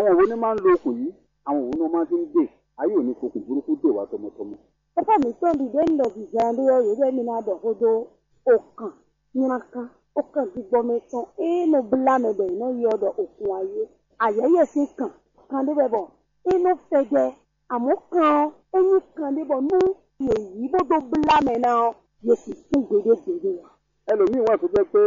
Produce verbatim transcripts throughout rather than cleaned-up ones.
Àwọn wo ní máa ń lo okùn yìí, àwọn wo ní máa ti ń dè, ayé ò ní fokùn burúkú dè wá tọmọtọmọ. Papa mǐtɔn ɖi ɖě un ɖɔ zizan ɖé ɔ́, yě ɖɔ émí ná ɖɔ xó dó okan nylakán, okan gbígbɔ́ mɛ tɔn e nɔ blá mɛ bɔ è nɔ ylɔ́ ɖɔ okun ayé. Ayɛyɛ sín kan, kan ɖé wɛ bɔ é nɔ fɛ́dɛ́. Amɔ̌ kan ɔ́, é nyí kan ɖé bɔ nú yě yí bó dó blá mɛ ná ɔ́, yě sixú gbeɖé gbeɖé ǎ. Ɛlòmíì wà tó jẹ́ pé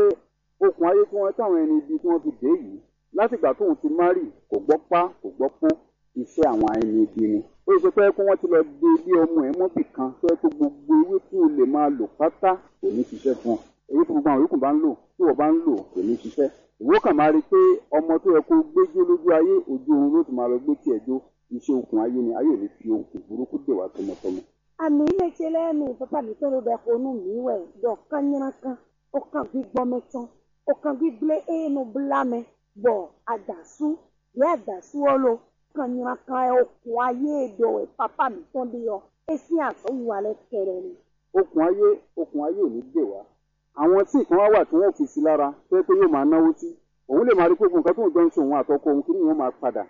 okùn ayé tí wọ́n táwọn ẹni ibi tí wọ́n fi dě yìí, láti ìgbà tóun ti má rì, kò gbọ́ pá, kò gbọ́ pó, iṣẹ́ àwọn ẹni ibi ni. Ó yẹ kó wọ́n ti lọ dé bí ọmọ ẹ̀ mọ́ bì kan, tó yẹ kó gbogbo ewé tí o lè máa lò pátá kò ní ṣiṣẹ́ fún ọ. Ewé tí gbogbo àwọn yòókù bá ń lò, tí wọ́n bá ń lò, kò ní ṣiṣẹ́. Ìwọ kàn máa rí i pé ọmọ tó yẹ kó gbé jó lójú ayé, ojú oorun ló ti máa lọ gbé tiẹ̀ jó. Iṣẹ́ okùn ayé ni, ayé ò ní fi okùn burúkú dè wá tọmọtọmọ. Àmì mɛ ce lɛ́ɛ mi, pápá mǐtɔn ɖo ɖɔ xo nú mǐ wɛ ɖɔ kánnyrákan, okan gbígbɔ́ mɛ tɔn, okan gbígblé e nɔ blá mɛ, bɔ adǎsú, yě adǎsú ɔ́ lo, kánnyrákan ɛ okùn ayé e ɖɔ wɛ pápá mǐtɔn ɖe ɔ́, é sín azɔ̌wiwa lɛ́ɛ kɛɖɛ́ ni. Okùn ayé, okùn ayé ò ní dè wá. Àwọn tí nǹkan wá wà tí wọ́n fi sí lára, tó yẹ pé yóò máa náwó sí. Òun lè máa rí pé gbogbo nǹkan tó ń jọ ń ṣe òun àtọkọ òun kí ni yóò máa padà.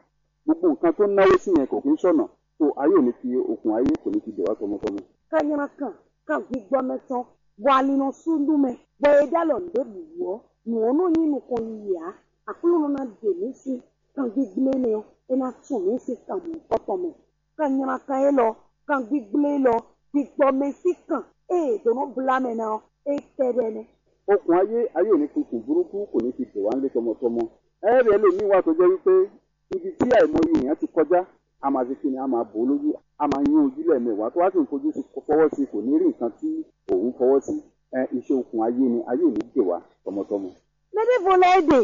Gbogbo nǹkan tó náwó sí yẹn kò kí ń ṣọ̀nà. So ayé ò ní fi okùn ayé kò ní fi dè wá tọmọtọmọ. Kanyrankan, kan gbígbɔ́ mɛ tɔn, bɔ ali nɔ sú nú mɛ, bɔ è ɖó alɔ nǔɖé bǐ wú ɔ́, nǔ ɔ́ nɔ nyí nukɔn yiyi ǎ. Aklúnɔ ná ɖe mǐ sín kan gbígblé nɛ́ ɔ́, é ná tún mǐ sín kan mɔ̌hunkɔtɔn mɛ. Kanyrankan élɔ́, kan gbígblé élɔ́, gbígbɔ́ mɛ sín kan e è dǒ nɔ blá mɛ ná ɔ́, é kɛ́ɖɛ́ nɛ́. Okùn ayé, ayé ò ní fi kùn burúkú, kò ní fi dè wá lé tɔmɔtɔmɔ. Ɛ́ ɖě lě mǐ wa tó jẹ́ wípé ibi tí àìmọye èèyàn ti kọjá, a máa ṣe kíni, a máa bò ó lójú, a máa nyún ojú lẹ́ẹ̀mẹwàá tó wá sì ń fojú sí fọwọ́ sí, kò ní rí nǹkan tí òun fọwọ́ sí. Ẹ, iṣẹ́ okùn ayé ni, ayé ò ní dè wá tọmọtọmọ. Mɛ ɖěvo lɛ́ɛ ɖe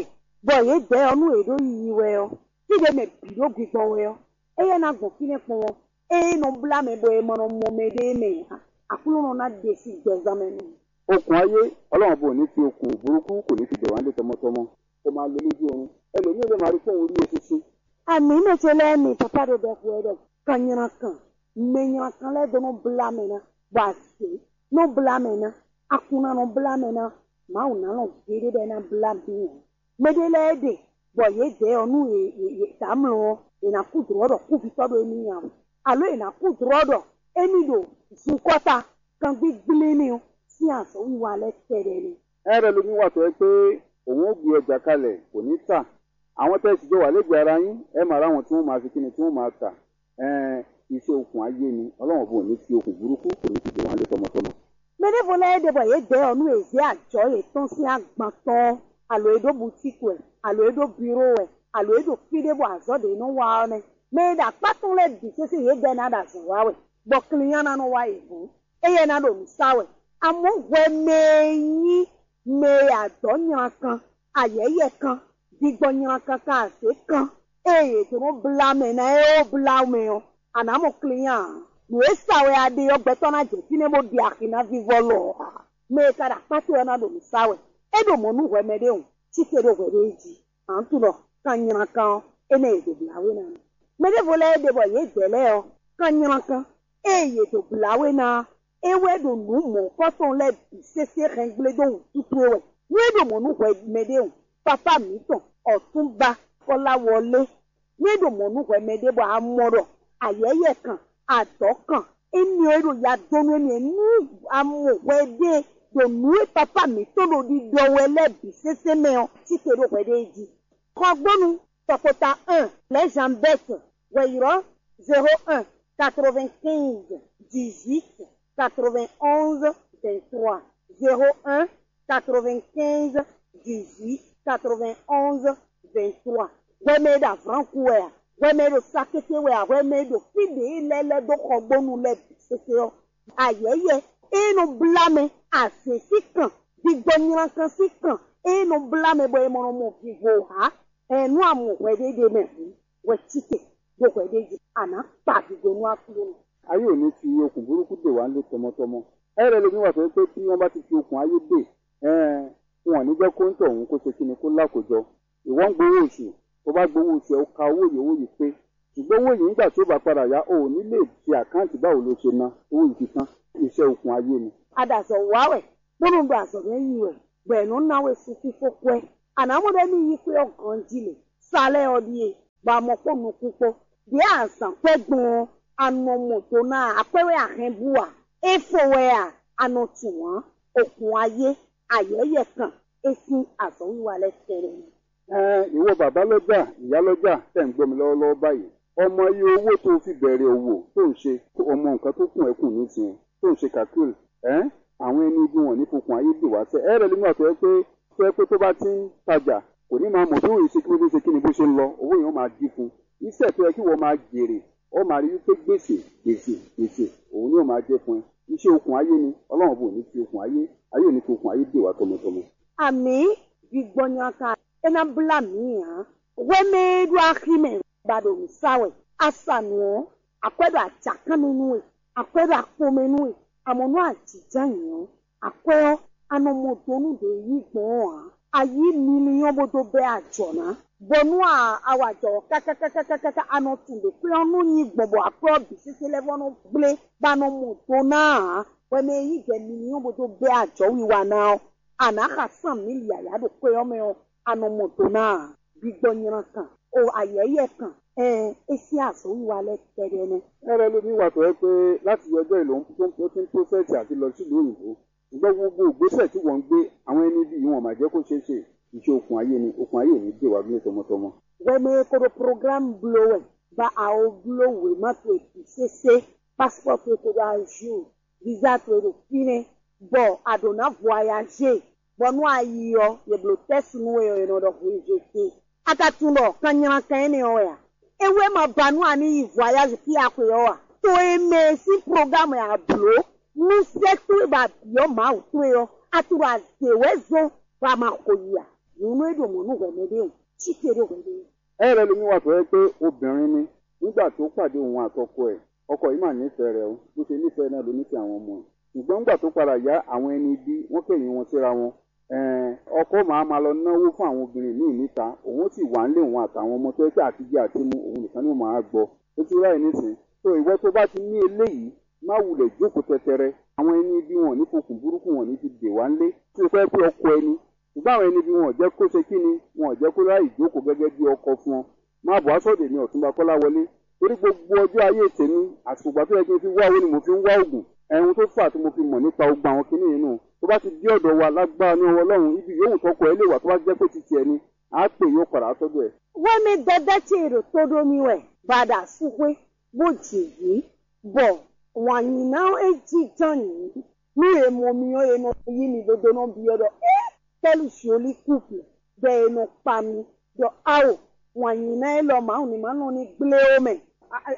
bɔ yě dɛ̌ ɔ́ nú è ɖó yiyi wɛ ɔ́, fí ɖě mɛ bǐ ɖó gbigbɔ wɛ ɔ́, éyɛ́ ná gbɔn fínɛ́ kpɔ́n ɔ́, ée nɔ blá mɛ bɔ è ma nɔ mɔ mɛɖée mɛ ǎ, Aklúnɔ ná ɖe sín gbɛzán mɛ nú mì. Okùn ayé, Ọlọ́run bò ní fi okùn burúkú, kò ní fi dè wá lé tɔmɔtɔmɔ. Kò máa lo lójú oorun. Ẹlòmíì lè máa rí fóun rí e sísí. Àmì mɛ ce lɛ́ɛ mi, papa ɖo ɖɔ xo ɛ ɖɔ kanyrankan, mɛ nyrankan lɛ́ɛ dó nɔ blá mɛ ná, bɔ azě nɔ blá mɛ ná, akun ná nɔ blá mɛ ná, Mawu ná lɔn gbeɖé bɔ é ná blá mǐ ǎ. Mɛ ɖé lɛ́ɛ ɖe bɔ yě dɛ̌ ɔ́ nú yě tamlɔ ɔ́, è nǎ kú dlɔ̌ ɖɔ kúvitɔ́ ɖo émí nya wɛ, alo è nǎ kú dlɔ̌ ɖɔ émí ɖo zunkɔ́ta kangbígblé nɛ́ ɔ́ sín azɔ̌wiwa lɛ́ɛ kɛɖɛ́ nɛ́. Ɛ ɖɔ lómi wa tɔ́ ɛ pé òun ó gbe ɛ jakalɛ kò ní ta. Àwọn tẹ́ ẹ sì jọ wà lẹ́gbẹ̀ẹ́ ara yín, ẹ máa rá wọn tí wọ́n máa fi kíni tí wọ́n máa ta. Ɛn, iṣẹ́ okùn ayé ni, Ọlọ́run ọ̀bùn ò ní fi okùn burúkú, kò ní fi dè wọ́n lé tɔmɔtɔmɔ. Mɛ ɖěvo lɛ́ɛ ɖe bɔ yě dɛ̌ ɔ́ nú è zě ajɔ̌ yětɔn sín agban tɔn ɔ́, alo é ɖó butíku wɛ, alo é ɖó biró wɛ, alo é ɖo fí ɖé bɔ azɔ̌ ɖě nɔ wa ɔ́ nɛ́. Mɛ e ɖo akpá tɔn lɛ́ɛ bǐ sésé yě dɛ́ ná ɖo azɔ̌ wa wɛ, bɔ klínyá ná nɔ wá yě gɔ́n. Éyɛ́ ná ɖo nǔ sa wɛ. Amɔ̌ hwɛ mɛ e nyí mɛ e adɔ̌ nyla kan, ayɛ̌yɛ kan, digbɔ nyla kan kan azě kan, ée yě dó nɔ blá mɛ ná é ó blá mɛ ɔ́, a nǎ mɔ klínyá ǎ. Nǔ e sa wɛ a ɖe ɔ́, gbɛtɔ́ ná jɛ fínɛ́ bó ɖi axi ná vívɔ́ lɔ ɔ́ ǎ. Mɛ e ka ɖo akpá towe ɔ́ ná ɖo nǔ sa wɛ. É ɖo mɔ̌ nú hwɛ mɛɖé hǔn, cí te ɖó hwɛɖée jí. Ǎ, un tunɔ kan nyla kan ɔ́, énɛ́ yě dó blá we ná. Mɛ ɖěvo lɛ́ɛ ɖe bɔ yě dɛ̌ lɛ́ɛ ɔ́, kan nyla kan, ée yě dó blá we ná ɔ́, é wɛ ɖo nǔ mɔ̌hunkɔtɔn lɛ́ɛ bǐ sésé hɛngblé dó wǔtútú é wɛ. Nú é ɖo mɔ̌ nú hwɛ mɛɖé hǔn, papá mǐtɔn, ɔ̌túnba Kɔ́láwɔlé, nú é ɖo mɔ̌ nú hwɛ mɛɖé bɔ a mɔ ɖɔ ayɛ̌yɛ kan, adɔ̌ kan, énɛ́ ɔ́ é ɖo ya dó nú émí nú a mɔ hwɛ ɖée ɖo nǔ e papá mǐtɔn ɖo ɖiɖɔ wɛ lɛ́ɛ bǐ sésé mɛ ɔ́, cí te ɖó hwɛ ɖée jí. Xɔgbónu tɔkpota un, Lɛ̌zanbɛ́ti, hwɛ̌yrɔ́ zéro un, quatre-vingt-quinze, dix-huit, quatre-vingt-onze, vingt-trois, zéro un, quatre-vingt-quinze, dix-huit, quatre-vingt-onze, vingt-trois. Hwɛ mɛ e ɖo avlánku wɛ a? Hwɛ mɛ e ɖo sakété wɛ a? Hwɛ mɛ e ɖo fí ɖě lɛ́ɛ lɛ́ dó xɔgbónu lɛ́ɛ bǐ sésé ɔ́, ayɛ̌yɛ e nɔ blá mɛ, azě sín kan, digbɔ nylankan sín kan e nɔ blá mɛ bɔ è mɔ nɔ mɔ vivo ǎ. Ɛn nú a mɔ hwɛ ɖé ɖ'é mɛ hǔn, hwɛ cí te ɖó hwɛ ɖé jí, a nǎ kpa vigo nú Aklúnɔ. Ayé ò ní fi okùn burúkú dè wá lé tɔmɔtɔmɔ. Ɛ lɛ́ lé mì wá sɔ pé tí wọ́n bá ti fi okùn ayé dè, ɛn wọn ò ní jẹ́ kó ń tɔ òun kó ṣe kíni kó lá kó jọ. Ìwọ ń gbowó oṣù, tó bá gbowó oṣù ẹ, ó ka owó yìí, owó yìí pé. Ṣùgbọ́n owó yìí nígbà tí ó bá padà yá, o ò ní lè ṣe àkáǹtì báwo lo ṣe ná owó yìí fi tán. Iṣẹ́ okùn ayé ni. A ɖo azɔ̌ wa wɛ, bónú un ɖo azɔ̌ mɛ yi wɛ, bɔ è nɔ ná we sun fífó kwɛ́. A nǎ mɔ ɖɔ émí yí xwé ɔ́ ganjí lě. Sa lɛ́ɛ ɔ́ ɖíe. bɔ a mɔ kpó nukún kpó. Ɖě azǎn kwɛ́ gbɔn ɔ́, a nɔ mɔ do ná ǎ, akwɛ́ wɛ a hɛn bú ǎ, é fo wɛ a, a nɔ tunwun ǎ, okun ayé, ayɛ̌yɛ kan, é sín azɔ̌wiwa lɛ́ɛ kɛ́ɖɛ́ nɛ́. Ɛɛn, ìwọ bàbá lɔ́jà, ìyá lɔ́jà, tẹ̀ ń gbọ́ mi lɔ́wọ́lɔ́wọ́ báyìí. Ọmọ yí owó tó fi bẹ̀rẹ̀ òwò tó ń ṣe, ọmọ nǹkan tó kún ẹ kùn nísìnyẹn, tó ń ṣe calcul, ẹ́, àwọn ẹni ibi wọn ní fokùn ayé dè wá sẹ́. Ẹ rẹ lómi àtọ́ ẹ pé tó ẹ pé tó bá ti ń tajà, kò ní máa mọ̀ bí òun ṣe kí ló dé ṣe kí ni bó ṣe ń lọ, owó yẹn ó máa dín fún un. Iṣẹ́ tó yẹ kí wọ́n máa jèrè, ó máa rí wípé gbèsè, gbèsè, gbèsè, òun ni ó máa jẹ́ fún ẹ. Iṣẹ́ okùn ayé ni, Ọlọ́run bò ní fi okùn ayé, ayé ò ní fi okùn ayé dè wá tọmọtọmọ. Àmì gbígbɔn nyakan é ná blá mǐ ǎ. Hwɛmɛ e ɖo axi mɛ ba ɖo nǔ sa wɛ. A sa nǔ ɔ́, akwɛ́ ɖo ajakánnu nú we, akwɛ́ ɖo akpomɛ nú we. Àmọ́ nú a jǐjá nyǐ ɔ́, akwɛ́ ɔ́, a nɔ mɔ do nú ɖě yí gbɔn ɔ́ ǎ. A yí miliyɔn bó dó bɛ́ ajɔ̌ ná, bɔ nú a a wa jɔ̌ ɔ́ káká káká káká, a nɔ tunwun ɖě kwɛ́ ɔ́ nɔ nyi gbɔn bɔ akwɛ́ ɔ́ bǐ sésé lɛ́ɛ vɔ́ nɔ gblé, bɔ a nɔ mɔ do ná ǎ. Hwɛmɛ e yí jɛ miliyɔn bó dó bɛ́ ajɔ̌ wiwa ná ɔ́, a nǎ xa sán mǐ yǎyá ɖo xwé ɔ́ mɛ ɔ́, a nɔ mɔ do ná ǎ. Gbígbɔ nylá kan, o ayɛ̌yɛ kan, ɛɛn, é sín azɔ̌wiwa lɛ́ɛ kɛ́ɖɛ́ nɛ́. Ɛ lɛ́ ɖo mì wa tɔ́ wɛ pé láti yí ọjọ́ ìlú tó ń tó ń tó sẹ́ẹ̀tì àti lọ sílùú òyìnbó. Ṣùgbọ́n gbogbo ìgbésẹ̀ tí wọ́n ń gbé, àwọn ẹni bí wọn máa jẹ́ kó ṣeé ṣe. Ìṣe okùn ayé ni, okùn ayé ò ní dè wá bí tọmọtọmọ. Hwɛmɛ e ko ɖo programme bló wɛ, ba a o bló wěma towe bǐ sésé, passeport towe ko ɖo à jour, visa towe ɖo fínɛ́, bɔ a ɖǒ ná voyagé, bɔ nú a yi ɔ́, yě blǒ tɛ́su nú we ɔ́, è nɔ ɖɔ hweyǐgbe. A ka tunwun ɖɔ kan nylá kan énɛ́ ɔ́ wɛ a? É wɛ ma ba nú a ní yi voyage fí a xwe ɔ́ a? To e mɛ e sín programme a blǒ nú sɛ́ towe ba bǐ ɔ́ Mawu towe ɔ́, a tunwun ɖɔ a zě wɛ zɔ́n bɔ a ma xo yi a? Nyɔ̌nu e ɖo mɔ̌ nú hwɛ̌mɛ ɖé o, cí te ɖó hwɛ̌mɛ ɖé. Ɛ lɛ́ ɖo mì wa tɔ́ wɛ pé obìnrin ni, nígbà tó pàdé òun àtọkọ ẹ̀, ọkọ yìí mà nífẹ̀ẹ́ rẹ̀ o, bó ṣe nífẹ̀ẹ́ náà ló nífẹ̀ẹ́ àwọn ọmọ ẹ̀. Ṣùgbọ́n nígbà tó padà yá, àwọn ẹni ibi wọ́n kẹ́yìn wọn síra wọn. Ẹ̀ẹ́n, ọkọ máa ma lọ náwó fún àwọn obìnrin míì níta, òun ó sì wà nílé òun àtàwọn ọmọ tó yẹ pé àtijẹ àti mu òun nìkan ni ó máa gbọ́. Ó ti ráyè nísìn. Tó ìwọ tó bá ti ní eléyìí, má wulẹ̀ jókòó tɛtɛrẹ. Àwọn ẹni ibi wọn ò ní fokùn burúkú wọn ò ní fi dè wá nílé. Tí o fẹ́ pé ọkọ ẹni, ṣùgbọ́n àwọn ẹni bí wọn ò jẹ́ kó ṣe kí ni, wọn ò jẹ́ kó ráyè jókòó gẹ́gẹ́ bí ọkọ fún ọ. Má bọ̀ á sọ̀dọ̀ èmi Ọ̀túnba Kọ́láwọlé, torí gbogbo ọjọ́ ayé tèmi, àsìkò ìgbà tó yẹ kí n fi wá owó ni mo fi ń wá oògùn. Ẹ̀hun tó fà tí mo fi mọ̀ nípa ogun àwọn kinní yìí nù. Tó bá ti dé ọ̀dọ̀ wa lágbára ní ọwọ́ Ọlọ́run, ibi yòówù tọkọ ẹ lè wà tó bá jẹ́ pé ti tiẹ̀ ni, á pè yóò padà sọ́dọ̀ ẹ̀. Wɛmɛ dada ce ɖo tó ɖó mì wɛ, bɔ a ɖo asú xwé, bó jǐ vǐ, bɔ wǎn nyi ná é jínjɔ́n nyǐ. Nú è mɔ mi ɔ́, è nɔ yí mi ɖó dó nɔ byɔ́ ɖɔ: "É, quel joli couple!" Bɔ è nɔ kpa mi ɖɔ: "Ao, wǎn nyi ná élɔ́ Mawu ní ma nɔ ní gblé ó mɛ."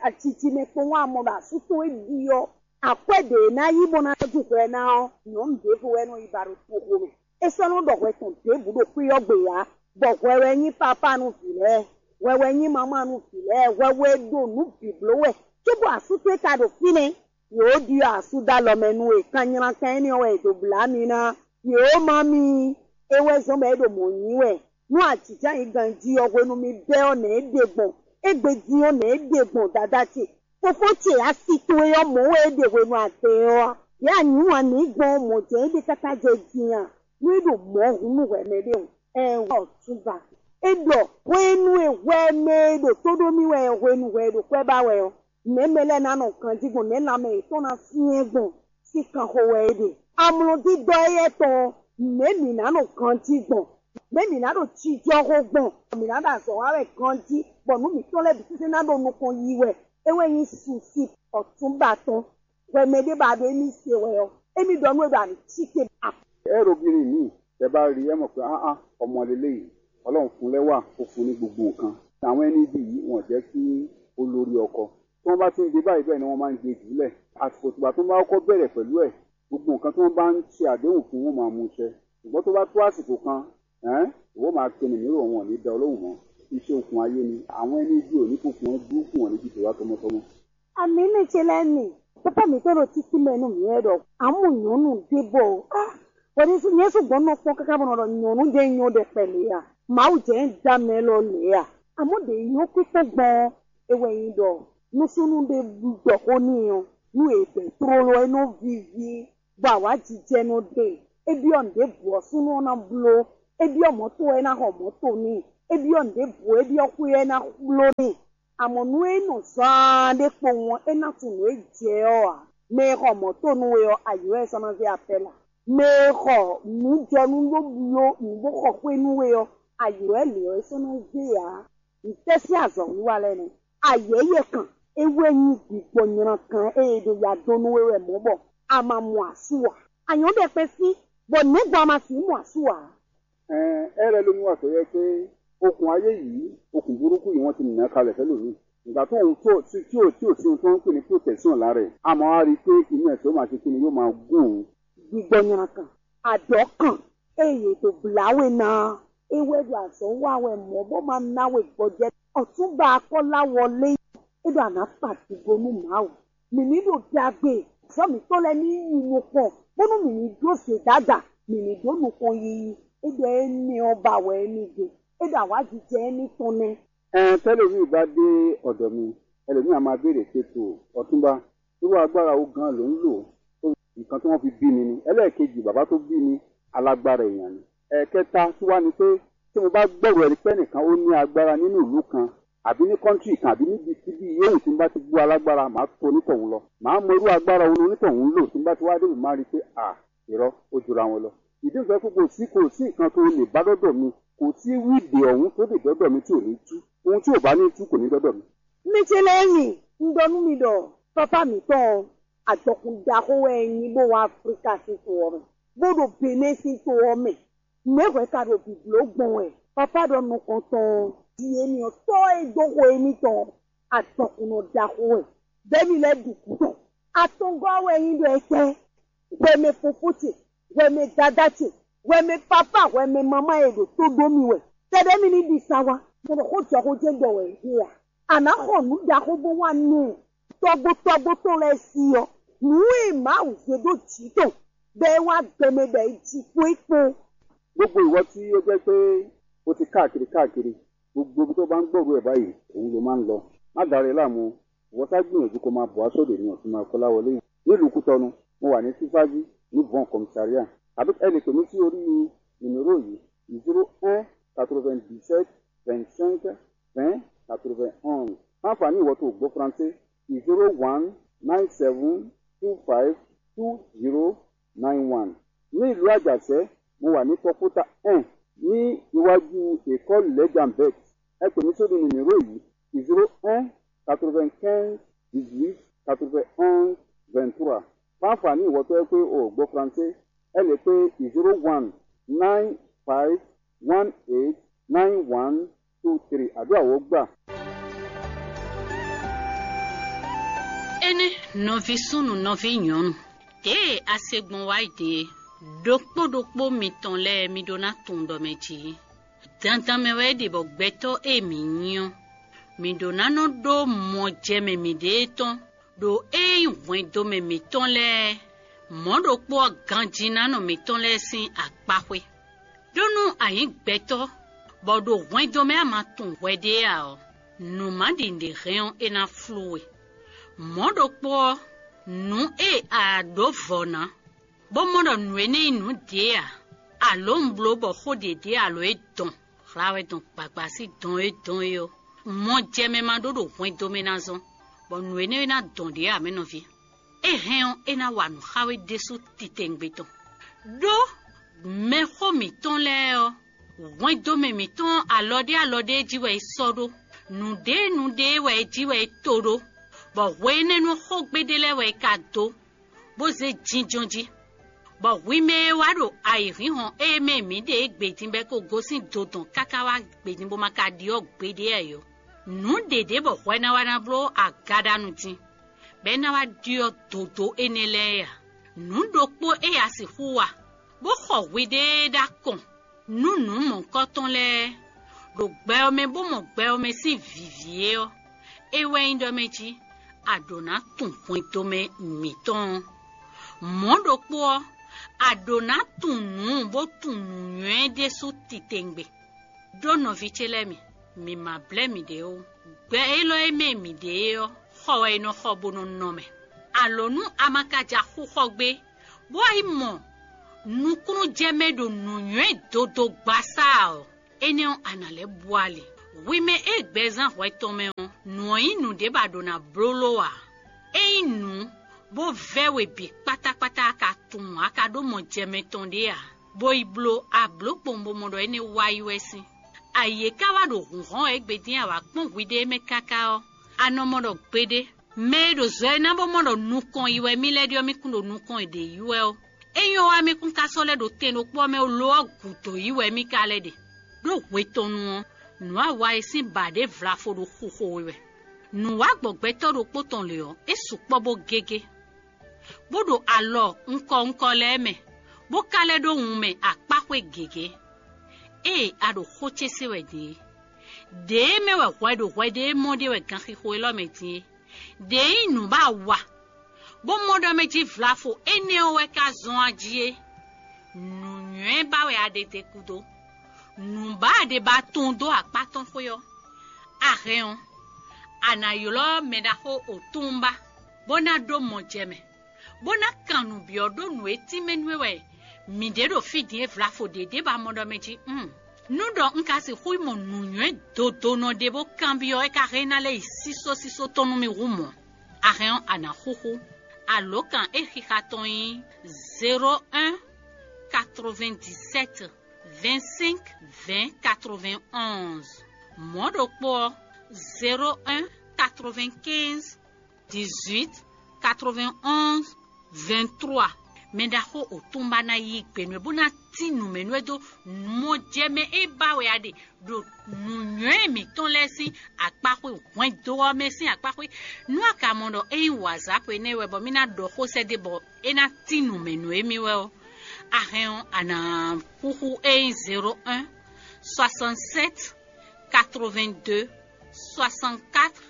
Acicimɛ kpowun amɔ ɖo asú tɔn e byɔ́ akwɛ́ ɖě e ná yí bó ná ju hwɛ ná ɔ́, nyɔ̌nu ɖěvo wɛ nɔ yi ba ɖo toxo mɛ. É sɔ́ nɔ ɖɔ hwɛ tɔn ɖěbǔ ɖo xwé ɔ́ gbe ǎ, bɔ hwɛ wɛ nyí pápá nú vǐ lɛ́ɛ, hwɛ wɛ nyí mamá nú vǐ lɛ́ɛ, hwɛ wɛ ɖo nǔ bǐ bló wɛ, cóbɔ asú towe ka ɖo fínɛ́. Yě ó ɖyɔ́ asú dó alɔ mɛ nú we, kan nylá kan énɛ́ ɔ́ wɛ è dǒ blá mi ná. Yě ó má mi, é wɛ zɔ́n bɔ é ɖo mɔ̌ nyí wɛ. Nú ajǐjǎ nyi ganjí ɔ́, hwenu mi bɛ́ ɔ́, nɛ̌ é ɖe gbɔn? Égbé din ɔ́, nɛ̌ é ɖe gbɔn, dadá ce? Fofó ce asi towe ɔ́, mɔ̌ wɛ é ɖe hwenu a dɛ ɛ ɔ́ a? Yě a nyǐ wǎn n'i gbɔn ɔ́, mɔ̌ jɛ́n é ɖe káká jɛ din a? Nú é ɖo mɔ̌ hun nú hwɛ mɛ ɖé hǔn, ɛɛn, hwɛ ɔ̌ tún ba. É ɖɔ: "Hwenu e hwɛ mɛ e ɖo tó ɖó mì wɛ ɔ́, hwenu hwɛ e ɖo kwɛ́ ba wɛ ɔ́, nɛ̌ mɛ lɛ́ɛ ná nɔ ganjí gbɔn, nɛ̌ lanmɛ yětɔn ná syɛ́n gbɔn?" Sín kanxo wɛ é ɖe. Amlɔdídɔ́ éyɛ́ tɔn ɔ́, nɛ̌ mǐ ná nɔ ganjí gbɔn? Nɛ̌ mǐ ná ɖo jijɔxo gbɔn? Mǐ ná ɖo azɔ̌ wa wɛ ganjí, bɔ nǔ mǐtɔn lɛ́ɛ bǐ sésé ná ɖo nukɔn yi wɛ. É wɛ nyí susi ɔ̌túnba tɔn. Hwɛ mɛ ɖé ba ɖo émí se wɛ ɔ́, émí ɖɔ nú é ɖɔ a nǐ cí te. Ɛ ɖo bírí mǐ, tɛ bá rí ɛ mọ̀ pé áá, ọmọ lélẹ́yìí, Ọlọ́run fún lẹ́wà, ó fún ní gbogbo nǹkan. Àwọn ẹni bí yìí, wọ́n jẹ́ kí ó lórí ọkọ. Tí wọ́n bá ti ń dé báyìí, bẹ́ẹ̀ ni wọ́n máa ń gbé jùlẹ̀. Àsìkò tìgbà tó bá kọ́kọ́ bẹ̀rẹ̀ pẹ̀lú ẹ̀, gbogbo nǹkan tí wọ́n bá ń ṣe àdéhùn fún, wọ́n máa mú ṣẹ. Ṣùgbọ́n tó bá tó àsìkò kan, ẹ́n, ìwọ máa kẹnu mí rò, wọn ò ní da ọ lóhùn mọ́. Iṣẹ́ okùn ayé ni, àwọn ẹni bí ò ní kókun ẹ burúkú wọn níbi tó wá tọmọtọmọ. Àmì ní ce lɛ́ɛ mi, pápá mǐtɔn ɖo títí mɛ nú mǐ wɛ ɖɔ: "Amú nyɔ̌nu ɖé bɔ o." Ah, wɛ̌ni nyɛ sɔ́ gbɔn nɔ kpɔ́n káká bɔ nɔ ɖɔ nyɔ̌nu ɖé nyɔ́ ɖɛkpɛ lě a? Mawu jɛ ń da mɛ lɔ lě a? Àmọ́ ɖě nyɔ́ kpíkpɔ́n gbɔn ɔ́, é wɛ nyí ɖɔ nú súnnu ɖé ɖɔ xó n'i ɔ́, nú è bɛ̌ tlóló ɔ́, é nɔ víví, bɔ awǎjijɛ nɔ ɖe. É byɔ́ nǔɖěbǔ ɔ́, súnnu ɔ́ ná bló. É byɔ́ mɔ̌to ɔ́, é ná xɔ mɔ̌to n'i. é byɔ́ nǔɖěbǔ e byɔ́ xwé ɔ́ é ná xwló n'i. Amɔ̌ nú é nɔ zaan ɖé kpowun ɔ́, é ná tunwun nǔ e jɛ ɔ́ ǎ. Mɛ e xɔ mɔ̌ to nú we ɔ́, ayǐ wɛ é sɔ́ ná zé apɛ́la. Mɛ e xɔ nǔ jɔ nú bó bló nǔ bó xɔ xwé nú we ɔ́, ayǐ wɛ lě ɔ́ é sɔ́ ná zé ǎ. Ntɛ́ sín azɔ̌wiwa lɛ́ɛ nɛ́? Ayɛ̌yɛ kan é wɛ nyí gbigbɔ nylán kan e è ɖo ya dó nú we wɛ mɔ̌ bɔ a ma mɔ asú ǎ. A nyɔ̌ ɖɛkpɛ sín, bɔ nɛ̌ gbɔn a ma sixú mɔ asú ǎ? Ɛɛn, é lɛ́ ɖo nú azɔ̌ yɛ pé okùn ayé yìí, okùn burúkú yìí wọ́n ti nǔ ná kalẹ̀ fẹ́ lǒ mì. Nǔgbà tó òun tó tí ò tí ò sin tɔn kpé ní protection lá rẹ̀. Àmọ́ a rí i pé inú ẹ̀ tó ma ṣe kíni yóò máa gún òun. Gbigbɔ nylá kan, àdɔ̌ kan, eye è dǒ blá we ná ɔ́, é wɛ ɖo azɔ̌ wa wɛ mɔ̌ bó ma ná we gbɔjɛ́. Ɔ̌túnba akɔ́láwɔ lé é ɖo anǎkpatígo nú Mawu. Mǐ ní ɖo ɖagbe, azɔ̌ mǐtɔn lɛ́ɛ ní yi nukɔn, bónú mǐ ní dó zědada, mǐ ní dó nukɔn yiyi. É ɖɔ énɛ́ ɔ́ ba wɛ é ní ɖe. É ɖo awǎjijɛ énɛ́ tɔn nɛ́. Ɛn tɛ́ Levíi ba ɖe ɔ́ ɖɔ mi, Ɛlɛmíi a ma ɖe ɖě te to ɔ́túnba, ɖó agbára wú gán lǒnlǒ, ɖó nǔkan tó wọ́n fi bí mi ní. Ɛlɛɛkejì bǎbá tó bí mi, alágbára èèyàn ni. Ɛkẹta tó wá ni pé tí mo bá gbọ́rọ̀ ẹni pé ẹnìkan ó ní agbára nínú ìlú kan, àbí ní kọ́ńtì kan, àbí níbi síbí yòówù tí mo bá ti gbó alágbára, màá to onítọ̀hún lọ. Màá mọ irú agbára wo ni onítọ̀hún lò tí mo bá ti wá débè máa rí i pé à, irọ́, ó jọra wọn lọ. Ìdí nìkan pé kò sí kò sí nǹkan tó lè bá dɔ́dọ̀ mi, kò sí wíìdì ọ̀hún tó lè dɔ́dọ̀ mi tí ò ní tú. Ohun tí ò bá ní tú kò ní dɔ́dọ̀ mi. Mɛcelɛ́mi, un ɖɔ nú mi ɖɔ pápá mǐtɔn ɔ́, ajɔkun ɖaxó wɛ é nyí bó wá Aflíka sín to ɔ́ mɛ, bó ɖo Benɛ́ sín to ɔ́ mɛ. Nɛ̌ hwɛ ka ɖo bǐbló gbɔn wɛ? Pápá ɖɔ nukɔntɔn ɔ́, vǐ émí ɔ́, tɔ́ e dó xo émítɔn ɔ́, ajɔkunnɔ ɖaxó wɛ. Bɛ́ mi lɛ́ ɖu gǔdo. Atɔngɔ́ wɛ nyí ɖɔ étɛ́? Hwɛmɛ fofó ce, hwɛmɛ dadá ce, hwɛmɛ papá, hwɛmɛ mamá e ɖo tó dó mi wɛ. Tɛɖɛ́ mi ní ɖi sa wá, bɔ ɖo xó jɔ xó jɛ́n ɖɔ wɛ é ɖe a? A nǎ xɔ nǔ ɖaxó bó wá nú tɔ́gbó tɔ́gbó tɔn lɛ́ɛ sí ɔ́, nǔ e Mawu zé ɖó jǐ tɔn, bɔ é wá gbɛ mɛ bɔ é ji kpó é kpó. Gbogbo ìwọ tí ó jẹ́ pé o ti káàkiri káàkiri, gbogbo ibi tó bá ń gbọ́rú ẹ̀ báyìí, òun ló máa ń lọ. Má darí láàmú, ìwọ sá gbìyànjú kó máa bọ̀ wá sódò ní ọ̀tún máa kọ́lá wọlé yìí. Nílùú Kútọ́nù, mo wà ní Sífájú ní Von Commissariat. Àbí ẹ lè pè mí sí orí nìmíró yìí, zéro un quatre-vingt-dix-sept vingt-cinq vingt quatre-vingt-onze. Fún àǹfààní ìwọ tó gbọ́ Faransé, zéro one nine seven two five two zero nine one. Ní ìlú Àjàṣẹ́, mo wà ní Kɔkúta un ní iwájú école Lẹ́jàmbẹ́t. Ẹ pè mí sórí nìmíró yìí, zéro un quatre-vingt-quinze dix-huit quatre-vingt-onze vingt-trois. Fún àǹfààní ìwọ tó yẹ pé o ò gbọ́ Faransé, ẹ lè pé zéro one nine five one eight nine one two three. Àdúrà wó gbà. Énɛ́, nɔví súnnu, nɔví nyɔ̌nu, ɖěe a se gbɔn wá yi ɖe é, ɖokpó ɖokpó mitɔn lɛ́ɛ mi ɖó ná tunwun ɖɔ mɛ jí. Dandan mɛ wɛ é ɖe bɔ gbɛtɔ́ e mǐ nyí ɔ́, mǐ ɖó ná nɔ ɖó mɔjɛmɛ mǐɖée tɔn ɖo ée nyí hwɛndomɛ mǐtɔn lɛ́ɛ, mɔ̌ ɖokpó ɔ́ ganjínánɔ mǐtɔn lɛ́ɛ sín akpáxwé. Ɖó nú a nyǐ gbɛtɔ́, bɔ ɖo hwɛndo mɛ a ma tunwun hwɛɖée ǎ ɔ́, nǔ ma ɖi nǔɖé hɛn ɔ́, é ná flú we. Mɔ̌ ɖokpó ɔ́, nǔ e a ɖǒ vɔ̌ ná, bó mɔ ɖɔ nǔ énɛ́ nyí nǔ ɖě ǎ, alǒ un bló bɔ xó ɖě ɖe alo é dɔn, hla wɛ dɔn gbagba sín dɔn e dɔn é ɔ́, mɔjɛmɛ ma ɖó ɖo hwɛndo mɛ ná zɔ́n, bɔ nǔ énɛ́ e ná dɔn ɖě ǎ mɛ nɔví. É hɛn ɔ́, é ná wa nǔ xá we ɖésú titewungbe tɔn. Ɖó mɛxó mǐtɔn lɛ́ɛ ɔ́, hwɛndomɛ mǐtɔn alɔ ɖé alɔ ɖé jí wɛ é sɔ́ ɖó; nǔɖé nǔɖé wɛ é jí wɛ é to ɖó, bɔ hwe énɛ́ nú xógbe ɖé lɛ́ɛ wɛ é ka dó, bó zé jínjɔ́n jí. Bɔ hwi mɛ e wá ɖo ayǐhínhɔ́n e mɛ mǐ ɖe é gbedin bɔ é ko gosín do dɔn káká wá gbedin bó ma ka ɖyɔ́ gbeɖé ǎ é ɔ́, nǔ ɖě ɖě bɔ hwɛ ná wá ná bló agaɖanu din, bɔ é ná wá ɖyɔ́ dǒdó énɛ́ lɛ́ɛ ǎ. Nǔ ɖokpó e a sixú wa, bó xɔ hwiɖée ɖó akɔn nú nǔ mɔ̌hunkɔtɔn lɛ́ɛ, ɖo gbɛ ɔ́ mɛ bó mɔ gbɛ ɔ́ mɛ sín vǐví é ɔ́, é wɛ nyí ɖɔ mɛ jí a ɖǒ ná tunwun hwɛndo mɛ mǐtɔn ɔ́. Mɔ̌ ɖokpó ɔ́, a ɖǒ ná tunwun nǔ bó tunwun nǔnywɛ́ ɖésú titewungbe. Ɖó nɔví ce lɛ́ɛ mi, mi ma blɛ́ miɖée ó. Gbɛ élɔ́ e mɛ mǐ ɖe é ɔ́, xɔ wɛ è nɔ xɔ bó nɔ nɔ mɛ. Alǒ nú a ma ka ja xú xɔ gbé, bó wá yi mɔ nukúnnú jɛ mɛ ɖo nǔnywɛ́ dodo gbasá ɔ́, énɛ́ ɔ́, a nǎ lɛ́ bú ali. Hwi mɛ e gbɛzán hwɛ tɔn mɛ ɔ́, nǔ ɔ́ nyí nǔɖé bɔ a ɖǒ ná bló ló ǎ. Ényí nǔ bó vɛ́ we bǐ kpátákpátá a ka tunwun a ka ɖó mɔ jɛ mɛ tɔn ɖé ǎ, bó yi bló ablǒ kpowun bó mɔ ɖɔ énɛ́ wá yi wɛ sín. Ayǐ e ka wá ɖo hǔnhɔ́n wɛ égbé dín a wǎ kpɔ́n hwiɖée mɛ káká ɔ́, a nɔ mɔ ɖɔ gbeɖé, mɛ e ɖo zɔ e ná bó mɔ ɖɔ nukɔn yi wɛ mì lɛ́ ɖe ɔ́, mì kún ɖo nukɔn e ɖě yi wɛ ɔ́, é nyɔ́ wá mì kún ka sɔ́ lɛ́ ɖo tɛn ɖokpó ɔ́ mɛ ó, lo ɔ́ gǔdo yi wɛ mì ka lɛ́ ɖe. Ɖó hwe tɔn nu ɔ́, nǔ awa e sín ba ɖě vlafo ɖo xuxo we wɛ. Nǔ wá gbɔ gbɛtɔ́ ɖokpó tɔn lě ɔ́, é sukpɔ́ bó gégé, bó ɖo alɔ ŋkɔ ŋkɔ lɛ́ɛ mɛ, bó ka lɛ́ ɖó wun mɛ akpáxwé gěgé. Ée a ɖo xó ce se wɛ din é, ɖěe mɛ wɛ hwɛ ɖo hwɛ ɖé mɔ ɖe wɛ ganxixo élɔ́ mɛ din é. Ɖě nyí nǔ ba wa, bó mɔ ɖɔ mɛ jí vlafo énɛ́ ɔ́ wɛ ka zɔ́n a jí é. Nǔnywɛ́ ba wɛ a ɖe te kúdó. Nǔ ba a ɖe ba tunwun dó akpá tɔn xwé ɔ́, a hɛn ɔ́, a nǎ ylɔ́ mɛ ɖaxó otúnba, bó ná ɖó mɔ jɛ mɛ, bó ná kan nǔ byɔ́ ɖó nǔ e tínmɛ nú we wɛ mǐ ɖe ɖo fí din e vlafo ɖě ɖě ba mɔ ɖɔ mɛ jí. Nú ɖɔ un ka sixú mɔ nǔnywɛ́ dodonɔ ɖé bó kanbyɔ́ é ka hɛn ná lɛ́ yi sísó sísó tɔn nú mì hú mɔ̌. A hɛn ɔ́, a nǎ xúxú. Alǒkan e xixa tɔn nyí zéro un quatre-vingt-dix-sept vingt-cinq vingt quatre-vingt-onze. Mɔ̌ ɖokpó ɔ́, zéro un quatre-vingt-quinze dix-huit quatre-vingt-onze vingt-trois. Mɛ ɖaxó otúnba ná yí gbe nú ɛ bó ná tín nǔ mɛ nú ɛ dó mɔjɛmɛ e ba wɛ a ɖe ɖo nǔnywɛ́ mǐtɔn lɛ́ɛ sín akpáxwé hwɛndo ɔ́ mɛ sín akpáxwé. Nú a ka mɔ ɖɔ é nyí wǎzápo énɛ́ wɛ bɔ mì ná ɖɔ xó sɛ́ dó bɔ é ná tín nǔ mɛ nú émí wɛ ɔ́, a hɛn ɔ́, a nǎ xúxú é nyí zéro un soixante-sept quatre-vingt-deux soixante-quatre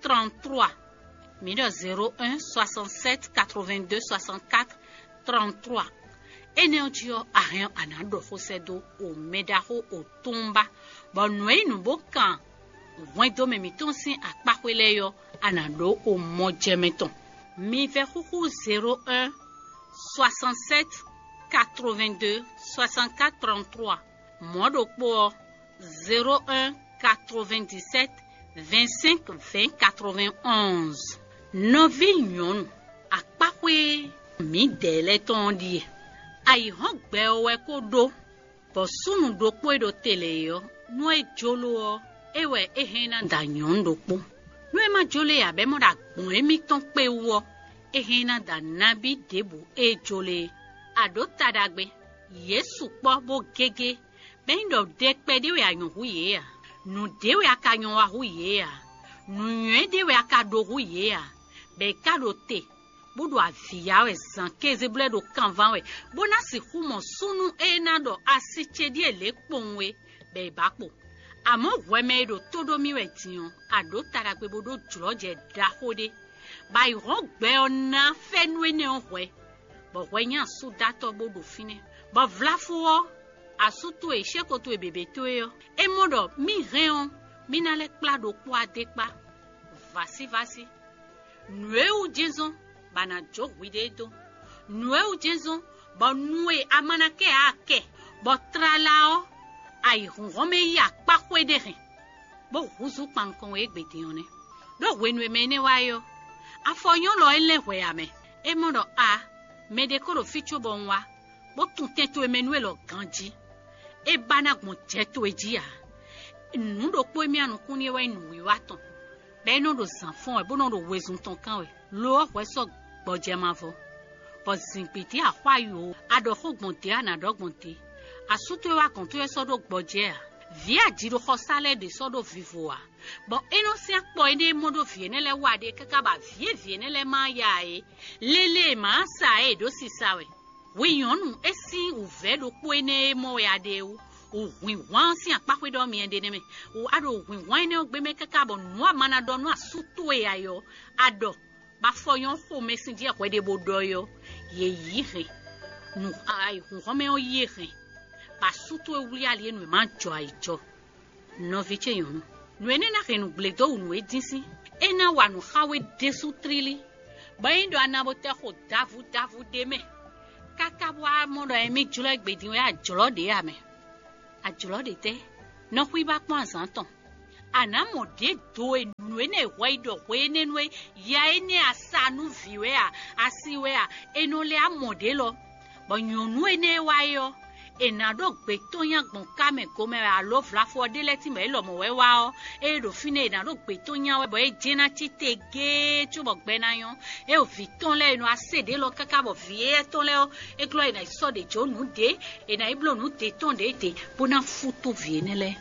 trente-trois. Mǐ ɖɔ zéro un soixante-sept quatre-vingt-deux soixante-quatre trente-trois. Énɛ́ ɔ́ jí ɔ́, a hɛn ɔ́, a nǎ ɖɔ xó sɛ́ dó o mɛ ɖaxó o túnba, bɔ nǔ e nyí nǔ bó kan hwɛndo mɛ mǐtɔn sín akpáxwé lɛ́ɛ ɔ́, a nǎ ɖó o mɔjɛmɛ tɔn. Mi vɛ́ xúxú zéro un soixante-sept quatre-vingt-deux soixante-quatre trente-trois. Mɔ̌ ɖokpó ɔ́, zéro un quatre-vingt-dix-sept vingt-cinq vingt quatre-vingt-onze. Nɔví nyɔ̌nu, akpáxwé mǐdɛɛ lɛ́ɛ tɔn ɔ́ ɖíe. Ayǐhɔ́ngbe ɔ́ wɛ ko ɖó, bɔ súnnu ɖokpó e ɖo te lɛ́ɛ é ɔ́, nú é jló ɔ́, é wɛ é hɛn ná da nyɔ̌nu ɖokpó. Nú é ma jló é ǎ, bɔ é mɔ ɖɔ agbɔ̌n émítɔn kpé wú ɔ́, é hɛn ná da nabí ɖěbǔ e é jló é. A ɖǒ ta ɖagbe, yě sukpɔ́ bó gégé, bɔ é nyí ɖɔ ɖɛ kpɛɖé wɛ a nyɔ̌ hú yě ǎ, nǔ ɖé wɛ a ka nyɔ́ wa hú yě ǎ, nǔnywɛ́ ɖé wɛ a ka ɖó hú yě ǎ, bɔ è ka ɖo te, bó ɖo avǐ ya wɛ zǎn kéze bó lɛ́ ɖo kanván wɛ, bó ná sixú mɔ súnnu e ná ɖɔ asi ce ɖíe lě kpowun é, bɔ è bǎ kpo. Amɔ̌ hwɛ mɛ e ɖo tó ɖó mì wɛ din ɔ́, a ɖǒ ta ɖagbe bó ɖó jlɔ̌jɛ ɖaxó ɖé, bɔ ayǐhɔ́ngbe ɔ́ ná fɛ́nú énɛ́ ɔ́ hwɛ, bɔ hwɛ nyí asúdatɔ́ bó ɖo fínɛ́, bɔ vlafó ɔ́, asú towe, shéko towe běbé towe ɔ́, é mɔ ɖɔ mì hɛn ɔ́, mì ná lɛ́ kplá ɖokpó adé kpá. Vǎsívásí, nǔ e wú jɛ́nzɔ́n bɔ a nǎ jó hwiɖée dó, nǔ e wú jɛ́nzɔ́n bɔ nu e a ma ná kɛ ǎ a kɛ, bɔ tlala ɔ́, ayǐhúnhɔ́n mɛ yí akpá xwé ɖé hɛn, bó húzú kpan nukɔn we égbé din ɔ́ nɛ́. Ɖó hwenu e mɛ énɛ́ wá é ɔ́, afɔ nyɔ́ lɔ é lɛ́n hwɛ ǎ mɛ. É mɔ ɖɔ a, mɛɖé ko ɖo fí cóbɔ un wá, bó tunwun tɛn towe mɛ nú élɔ́ ganjí. É ba ná gbɔn jɛ towe jí ǎ. Nǔ ɖokpó e mì anukún n'i é wɛ nyí nǔwiwa tɔn, bɔ é nɔ ɖo zǎn fɔ́n wɛ, bó nɔ ɖo wezun tɔn kán wɛ. Lo ɔ́, hwɛ sɔ́ gbɔjɛ mavɔ, bɔ zǐngbídí axwá yo, a ɖɔ xó gbɔn dě, a nǎ ɖɔ gbɔn dě. Asú towe wá gɔ̌n towe sɔ́ ɖó gbɔjɛ ǎ. Vǐ ajiɖoxɔsá lɛ́ɛ ɖě sɔ́ ɖó vivo ǎ, bɔ é nɔ sín akpɔ énɛ́ e mɔ ɖó vǐ énɛ́ lɛ́ɛ wa ɖe káká bɔ avǐ e vǐ énɛ́ lɛ́ɛ ma ya ǎ é, lélé e mǎ sa ǎ é ɖó sisa wɛ. Hwi nyɔ̌nu, é sín wǔvɛ́ ɖokpó énɛ́ e mɔ wɛ a ɖe é wú. Wǔhwinhwan ɔ́ sín akpáxwé ɖɔ myɛ ɖe nɛ́ mɛ. A ɖo wǔhwinhwan énɛ́ ɔ́ gbe mɛ káká bɔ nǔ a ma ná ɖɔ nú asú towe ǎ é ɔ́, a ɖɔ, bɔ afɔ nyɔ́ xomɛ sín jɛ hwɛ ɖé bó ɖɔ é ɔ́, yě yí hɛn. Nǔ ayǐhúnhɔ́n mɛ ɔ́ yí é hɛn, bɔ asú towe wlí ali e nǔ e ma jɔ ayǐ jɔ. Nɔví ce nyɔ̌nu, nǔ énɛ́ ná hɛn nǔgble dó wǔ nú é dín sín. É ná wa nǔ xá we ɖésú tlílí, bɔ é nyí ɖɔ a na bo tɛ xo davu davu ɖé mɛ, káká bó wá mɔ ɖɔ émí jlɔ́ égbé din wɛ ajlɔ́ ɖě ǎ mɛ. Ajlɔ́ ɖě tɛ́? Nɔ xwíba kpɔ́n azǎn tɔn. A nǎ mɔ ɖě do e nǔ énɛ́ e hwɛ yi ɖɔ hwe énɛ́ nú é, ya énɛ́ a sa nú vǐ wɛ a, a si wɛ a, è nɔ lɛ́ a mɔ ɖě lɔ. Bɔ nyɔ̌nu énɛ́ e wá é ɔ́, è nǎ ɖó gbětónya gbɔn ká mɛ gomɛ wɛ alo vlafɔ ɔ́ ɖé lɛ́ɛ tínbɔ é lɔmɔ̌ wɛ wá ɔ́, ée ɖo fínɛ́ è nǎ ɖó gbětónya wɛ bɔ é jɛ́n ná cí te géé cóbɔ gbɛ ná nyɔ́. É ɖo vǐ tɔn lɛ́ɛ e nɔ wá se ɖě lɔ káká bɔ vǐ éyɛ́ tɔn lɛ́ɛ ɔ́, é glɔ́ è nǎ yi sɔ́ ɖě jó nǔ ɖě, è nǎ yi bló nǔ ɖě tɔn ɖě ɖě bó ná fútú vǐ énɛ́ lɛ́ɛ.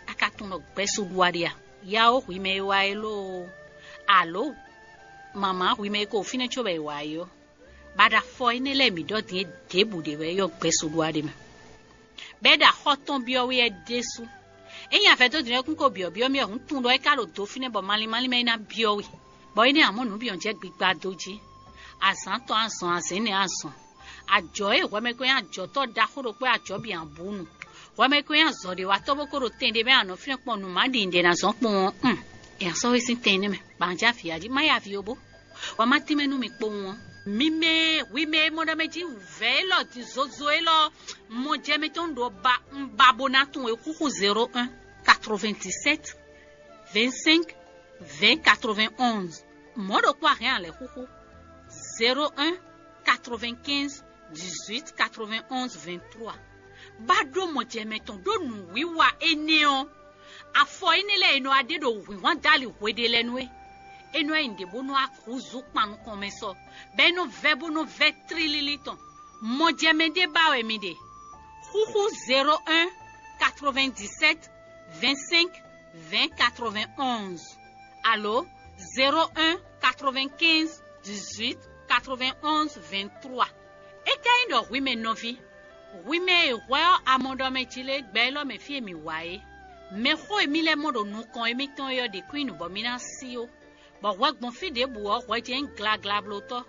A ka tunwun ɖɔ gbɛ́sú ɖu wá ɖe a? Yawó hwi mɛ e wá é lóo, alo mama hwi mɛ e ko fínɛ́ cóbɔ è wǎ é ɔ́, baɖa afɔ énɛ́ lɛ́ɛ mǐ ɖɔ din é ɖěbǔ ɖé wɛ yɔ gbɛ́sú ɖu wá ɖe mɛ. Bɔ é ɖo axɔ́ tɔn byɔ́ wɛ é ɖésú. Ényí avɛdódinɔ́kún ko byɔ̌byɔ́ mì wɛ hǔn tunwun ɖɔ é ka ɖo do fínɛ́ bɔ malín málín mɛ é ná byɔ́ we, bɔ é nɛ́ amɔ̌ nǔ bǐ ɔ́ jɛ gbigba dó jí. Azǎn tɔn azɔn azɛ̌n nɛ́ azɔn. Ajɔ̌ e hwɛmɛkɔn nyí ajɔ̌tɔ́ ɖaxó ɖokpó e ajɔ̌ bǐ ǎ bú nu. Hwɛmɛkɔn nyí azɔ̌ɖewatɔ́ bó ko ɖo tɛn ɖé mɛ anɔ̌ fínɛ́ kpɔn nǔ má ɖi nǔɖé ná zɔ́n kpɔ́n ɔ́, un, è nǎ sɔ́ we sín tɛn énɛ́ mɛ, bɔ a jɛ avǐ jí má ya vǐ ó bó. Wǎ má tínmɛ nú mi kpowun ɔ́. Mi mɛ e hwi mɛ e mɔ ɖɔ mɛ jí wǔvɛ́ élɔ́ din zozo élɔ́ mɔ jɛ mɛ tɔn ɖo ba un ba bó ná tunwun e xúxú zéro un quatre-vingt-dix-sept vingt-cinq vingt quatre-vingt-onze. Mɔ̌ ɖokpó a hɛn a lɛ̌ xúxú zéro un quatre-vingt-quinze dix-huit quatre-vingt-onze vingt-trois. Ba ɖó mɔ jɛ mɛ tɔn ɖó nǔwiwa énɛ́ ɔ́. Afɔ énɛ́ lɛ́ɛ e nɔ wá ɖe ɖo hwǐnhwan dali hweɖé lɛ́ɛ nú é. É nɔ wá nyi nǔɖé bó nɔ wá húzú kpan nukɔn mɛ sɔ, bɔ é nɔ vɛ́ bó nɔ vɛ́ tlílílí tɔn. Mɔjɛmɛ ɖé ba wɛ mi ɖe. Xúxú zéro un quatre-vingt-dix-sept vingt-cinq vingt quatre-vingt-onze alo zéro un quatre-vingt-quinze dix-huit quatre-vingt-onze vingt-trois. É ka nyí ɖɔ hwi mɛ nɔví, hwi mɛ e hwɛ ɔ́ a mɔ ɖɔ mɛ jí lé gbɛ élɔ́ mɛ fí e mǐ wá é. Mɛxó e mì lɛ́ mɔ ɖo nukɔn émítɔn é ɔ́ ɖě kún nyí nǔ bɔ mì ná sí ó, bɔ hwɛ gbɔn fí ɖěbǔ ɔ́, hwɛ jɛ́n nyí glaglablótɔ́,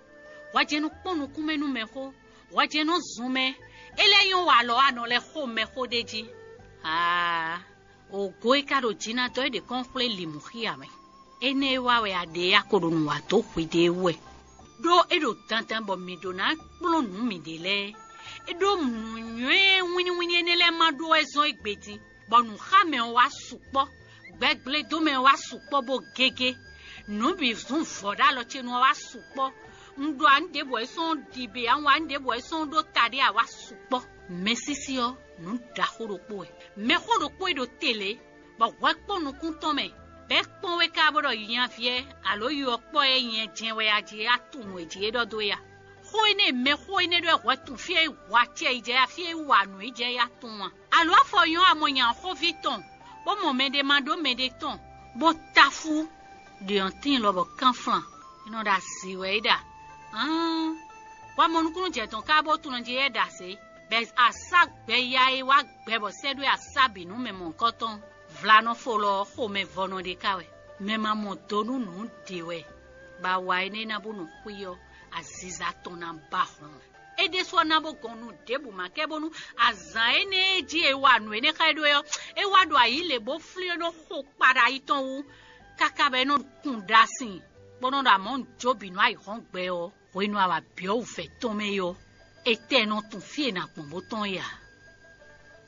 hwɛ jɛ́n nɔ kpɔ́n nukúnmɛ nú mɛxó, hwɛ jɛ́n nɔ zun mɛ. É lɛ́ nyɔ́ wa alɔ anɔ lɛ́ xo mɛxó ɖ'é jí. Aa! Ògo e ka ɖo jǐ ná dɔ́ é ɖě kɔn xwlé lǐmú xí ǎ mɛ. Énɛ́ e wa wɛ a ɖe a ko ɖo nǔ wa dó hwiɖée wú wɛ. Ɖó é ɖo dandan bɔ mǐ ɖó ná kplɔ́n nǔ mǐɖée lɛ́ɛ. É ɖó nǔnywɛ́ wínníwínní énɛ́ lɛ́ɛ ma ɖó wɛ zɔ́n égbé din, bɔ nǔxámɛ ɔ́ wá sukpɔ́, gbɛgblédómɛ ɔ́ wá sukpɔ́ bó gégé. Nǔ bǐ zún vɔ̌ ɖó alɔ ce nu ɔ́ wá sukpɔ́. Un ɖo anǔ ɖěbǔ wɛ sɔ́n ɖi bě, a wǎn ɖěbǔ wɛ sɔ́n ɖó taɖé a wá sukpɔ́. Mɛsísí ɔ́, nǔ ɖaxó ɖokpó wɛ. Mɛxó ɖokpó e ɖo te lě, bɔ hwɛ kpɔ́n nukún tɔn mɛ, bɔ é kpɔ́n we ká bó ɖɔ nyaví ɛ alo yi ɔ́ kpɔ́ ɛ nyɛ jɛ́n wɛ a jí a tunwun è jí é ɖɔ dó ya. Xó énɛ́ e mɛxó énɛ́ ɖɔ hwɛ tun fí e hu acɛ yi jɛ ya, fí e hu anǔ yi jɛ ya tunwun a? Alo afɔ nyɔ́ amɔ nya xóví tɔn, bó mɔ mɛɖé ma ɖó mɛɖé tɔn, bó táfú ɖě ɔ́ tíin lɔ bɔ kánflan, é nɔ ɖo asi wɛ é ɖa. Hǎn, wamɔnukúnnú jɛ tɔn ká bó tunɔ jí é ɖa zě, bɔ asá gbɛ ya e wá gbɛ bɔ sɛ́ ɖó asá bǐ nú mɛ mɔ̌hunkɔtɔn. Vlanɔfo lɔ ɔ́, xomɛvɔnɔ ɖé ká wɛ. Mɛ ma mɔ do nú nǔ ɖě wɛ, bɔ awa énɛ́ ná bó nɔ xwí ɔ́, aziza tɔn ná ba hlɔn. É ɖésú ɔ́ ná bó gɔn nú ɖěbǔ ma kɛ bónú azǎn énɛ́ e jí è wa nǔ énɛ́ xá ɛ ɖó é ɔ́, é wá ɖo ayǐ lě bó flín é nɔ xo kpaɖa yi tɔn wú, káká bɔ é nɔ kun ɖa sin, bó nɔ ɖo amɔ̌ jó bǐ nú ayǐhɔ́ngbe ɔ́, hwenu awa byɔ̌ wǔvɛ́ tɔn mɛ é ɔ́, étɛ́ nɔ tunwun fí e è nǎ gbɔn bó tɔ́n é ǎ,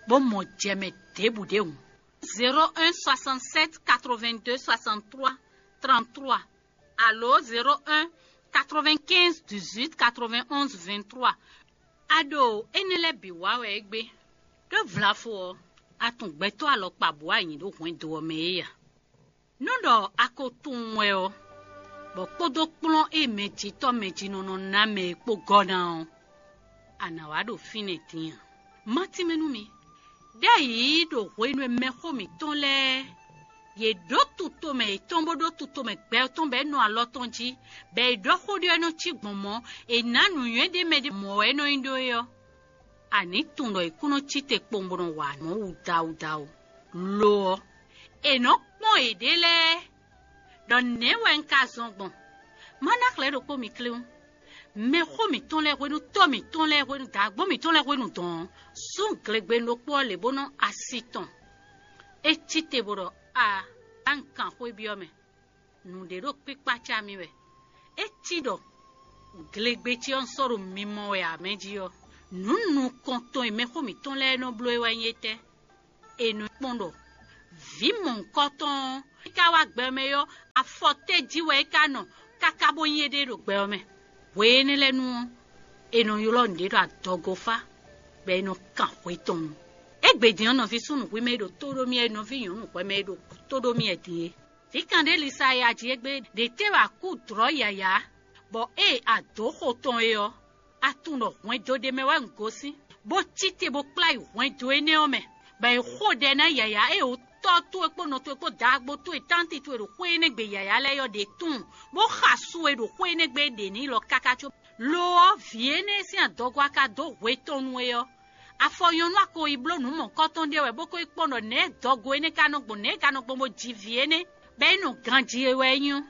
bó mɔ jɛ mɛ ɖěbǔ ɖěhǔn. Zéro un soixante-sept quatre-vingt-deux soixante-trois trente-trois alo zéro un quatre-vingt-quinze dix-huit quatre-vingt-onze vingt-trois. A ɖo énɛ́ lɛ́ɛ bǐ wa wɛ égbé. Ɖó vlafo ɔ́, a tunwun gbɛtɔ́ alɔkpa bǔ wá nyi ɖó hwɛndo ɔ́ mɛ é a? Nú ɖɔ a ko tunwun wɛ ɔ́, bɔ kpódó kplɔ́n e mɛjitɔ́ mɛjinɔnɔ ná mɛ e kpó gɔ́ ná ɔ́, a nǎ wá ɖo fínɛ́ din a? Má tínmɛ nú mi. Ɖ'ayǐ ɖo hwenu e mɛxó mǐtɔn lɛ́ɛ, yě ɖó tutomɛ yětɔn bó ɖó tutomɛ gbɛ tɔn bɔ é nɔ alɔ tɔn jí, bɔ è ɖɔ xó ɖé ɔ́ nɔ cí gbɔn mɔ̌, è nǎ nǔnywɛ́ ɖé mɛ ɖé mɔ̌ wɛ é nɔ nyí ɖó é ɔ́, a nǐ tunwun ɖɔ è kún nɔ cí te kpowun bó nɔ wa nǔ wudawudawu. Lo ɔ́, è nɔ kpɔ́n yěɖée lɛ́ɛ ɖɔ nɛ̌ wɛ un ka zɔn gbɔn? Má ná xlɛ̌ ɖokpó mi kléwún. Mɛxó mǐtɔn lɛ́ɛ hwenu, tɔ́ mǐtɔn lɛ́ɛ hwenu, dǎgbɔ́ mǐtɔn lɛ́ɛ hwenu dɔn ɔ́, sú glegbenu ɖokpó ɔ́ lě bó nɔ asi tɔn. É cí te bó ɖɔ: A, a un kan xwé byɔ́ mɛ. Nǔɖé ɖo kpíkpácá mì wɛ. É cí ɖɔ glegbe ce ɔ́ un sɔ́ ɖo mimɔ wɛ ǎ mɛ jí ɔ́, nǔ nukɔntɔn e mɛxó mǐtɔn lɛ́ɛ nɔ bló é wɛ nyí étɛ́? È nɔ kpɔ́n ɖɔ Vǐ mɔ̌hunkɔtɔn ɔ́, é ka wá gbɛ ɔ́ mɛ ɔ́, afɔ tɛ́ jí wɛ é ka nɔ káká bó nyí éɖée ɖo gbɛ ɔ́ mɛ? Hwe énɛ́ lɛ́ɛ nu ɔ́, è nɔ ylɔ́ nǔɖé ɖɔ adɔgofá, bɔ è nɔ kan hwe tɔn nu. Égbé din ɔ́, nɔví súnnu hwi mɛ e ɖo tó ɖó mì wɛ, nɔví nyɔ̌nu hwɛ mɛ e ɖo tó ɖó mì wɛ din é. Vǐ kan ɖé Lisaya jí égbé ɖě tɛ́ wɛ a kú dlɔ̌ yǎyá, bɔ ée a dǒ xo tɔn é ɔ́, a tunwun ɖɔ hwɛndo ɖé mɛ wɛ un gosín, bó cí te bó kplá yi hwɛndo énɛ́ ɔ́ mɛ, bɔ è xo ɖɛ ná yǎyá e wǔ tɔ́ towe kpó nɔ towe kpó daagbo towe tánti towe ɖo xwé énɛ́ gbe yǎyá lɛ́ɛ ɔ́ ɖě tunwun, bó xa su e ɖo xwé énɛ́ gbe é ɖe n'i lɔ káká có. Lo ɔ́, vǐ énɛ́ sín adɔgo a ka dó hwe tɔn nú é ɔ́, afɔ nyɔ̌nu a ko yi bló nǔ mɔ̌kɔtɔn ɖé wɛ bó ko yi kpɔ́n ɖɔ nɛ̌ dɔgo énɛ́ ka nɔ gbɔn, nɛ̌ é ka nɔ gbɔn bó ji vǐ énɛ́, bɔ é nɔ ganjí é wɛ é nyí ɔ́.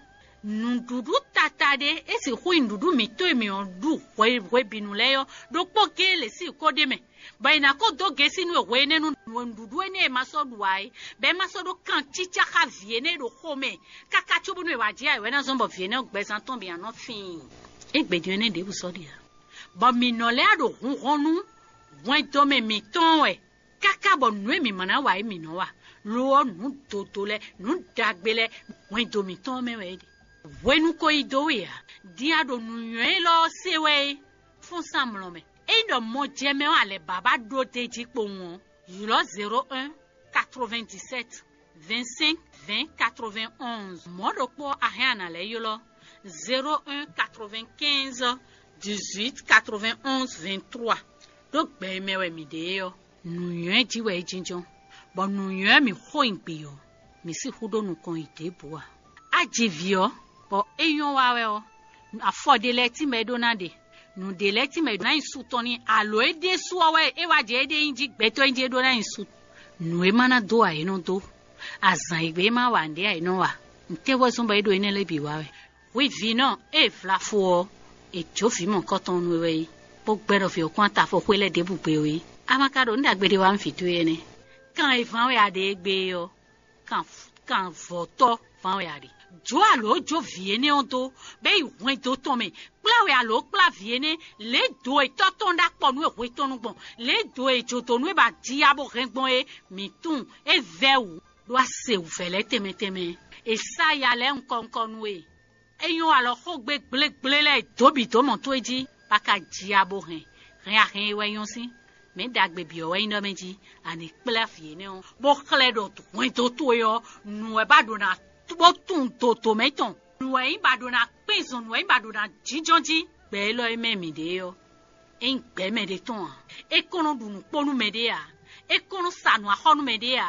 Nǔɖuɖu tata ɖé é sixú nyí nǔɖuɖu mǐtɔn e mǐ ɔ́ ɖu hwe hwebǐnu lɛ́ɛ ɔ́, ɖokpó géé lě sín kó ɖ'é mɛ, bɔ è nǎ ko dó gěsí nú we hwe énɛ́ nú nǔɖuɖu énɛ́ e ma sɔ́ ɖu ǎ é, bɔ é ma sɔ́ ɖó kan cícá xá vǐ énɛ́ e ɖo xomɛ káká cóbónú è wǎ jɛ ayǐ wɛ ná zɔ́n bɔ vǐ énɛ́ ɔ́ gbɛzán tɔn bǐ ná nɔ fíin. Égbé din énɛ́ ɖěbǔ sɔ́ ɖe ǎ, bɔ mǐ nɔ lɛ́ ɖo hunhɔn nú hwɛndo mɛ mǐtɔn wɛ, káká bɔ nǔ e mǐ ma ná wa é mǐ nɔ wa, lo ɔ́, nǔ dodo lɛ́ɛ, nǔ ɖagbe lɛ́ɛ, hwɛndo mǐtɔn mɛ wɛ é ɖe. Hwenu ko yi dó we ǎ, din a ɖo nǔnywɛ́ élɔ́ ɔ́ se wɛ é, fɔ́n sín amlɔ mɛ. Ényí ɖɔ mɔjɛmɛ ɔ́ a lɛ̌ ba ba ɖó d'é jí kpowun ɔ́, ylɔ́ zéro un, quatre-vingt-dix-sept, vingt-cinq, vingt, quatre-vingt-onze. Mɔ̌ ɖokpó ɔ́, a hɛn a nǎ lɛ́ ylɔ́ zéro un, quatre-vingt-quinze, dix-huit, quatre-vingt-onze, vingt-trois. Ɖó gbɛ e mɛ wɛ mǐ ɖe é ɔ́, nǔnywɛ́ jí wɛ é jínjɔ́n, bɔ nǔnywɛ́ mǐ xo nyi gbǐ ɔ́, mǐ sixú ɖó nukɔn yi ɖěbǔ ǎ. A ji vǐ ɔ́, bɔ é nyɔ́ wa wɛ ɔ́, afɔ ɖé lɛ́ɛ tínmɛ é ɖó ná ɖe, nǔ ɖé lɛ́ɛ tínmɛ é ɖó ná nyi su tɔn n'i, alo é ɖésú ɔ́ wɛ é wá jɛ éɖée nyí jí gbɛtɔ́ nyí jí é ɖó ná nyi su. Nǔ e ma ná dó ǎ é nɔ dó, azǎn e gbe é ma wa nǔɖé ǎ é nɔ wa. Nǔtɛ́ wɛ zɔ́n bɔ é ɖo énɛ́ lɛ́ɛ bǐ wa wɛ? Hwi vǐ nɔ e vlafo ɔ́, è jǒ vǐ mɔ̌kɔtɔn nú we wɛ é, bó gbɛ́ ɖɔ vǐ ɔ́ kún atafɔ xwé lɛ́ɛ ɖěbǔ gbe ó é. A ma ka ɖo nǔ ɖagbe ɖé wa nú vǐ towe énɛ́? Kan e ván wɛ a ɖe égbé é ɔ́, kan kan vɔ̌tɔ́ ván wɛ a ɖe. Jǒ alǒ jó vǐ énɛ́ ɔ́ dó, bɔ é yi hwɛndo tɔn mɛ, kplá wɛ alǒ kplá vǐ énɛ́, lě e do e tɔ́ tɔn ɖó akpɔ nú e hwe tɔn nu gbɔn, lě e do e jǒdonu e ba ji ya bó hɛn gbɔn é, mǐ tunwun é vɛ́ wǔ, ɖó a se wǔvɛ́ lɛ́ɛ tɛnmɛ tɛnmɛ. È sá ya lɛ́ɛ nukɔn nukɔn nú we. É nyɔ́ alɔ xógbe gblégblé lɛ́ɛ dǒ bǐ dó mɔ towe jí, bó ka ji ya bó hɛn. Hɛn a hɛn e wɛ nyɔ́ sín mɛ̌ ɖagbe bǐ ɔ́ wɛ nyí ɖɔ mɛ jí, a nǐ kplá vǐ énɛ́ ɔ́, bó xlɛ́ ɖɔ hwɛndo towe ɔ́, nǔ wɛ ba ɖo ná bó tunwun dodomɛ tɔn. Nǔ wɛ nyí ba ɖo ná kpɛ́n zɔn, nǔ wɛ nyí ba ɖo ná jínjɔ́n jí. Gbɛ élɔ́ e mɛ mǐ ɖe ɔ́, é nyí gbɛ̌ mɛɖé tɔn ǎ. É kɔn nɔ ɖu nǔ kpó nú mɛɖé ǎ. É kɔn nɔ sa nǔ axɔ́ nú mɛɖé ǎ.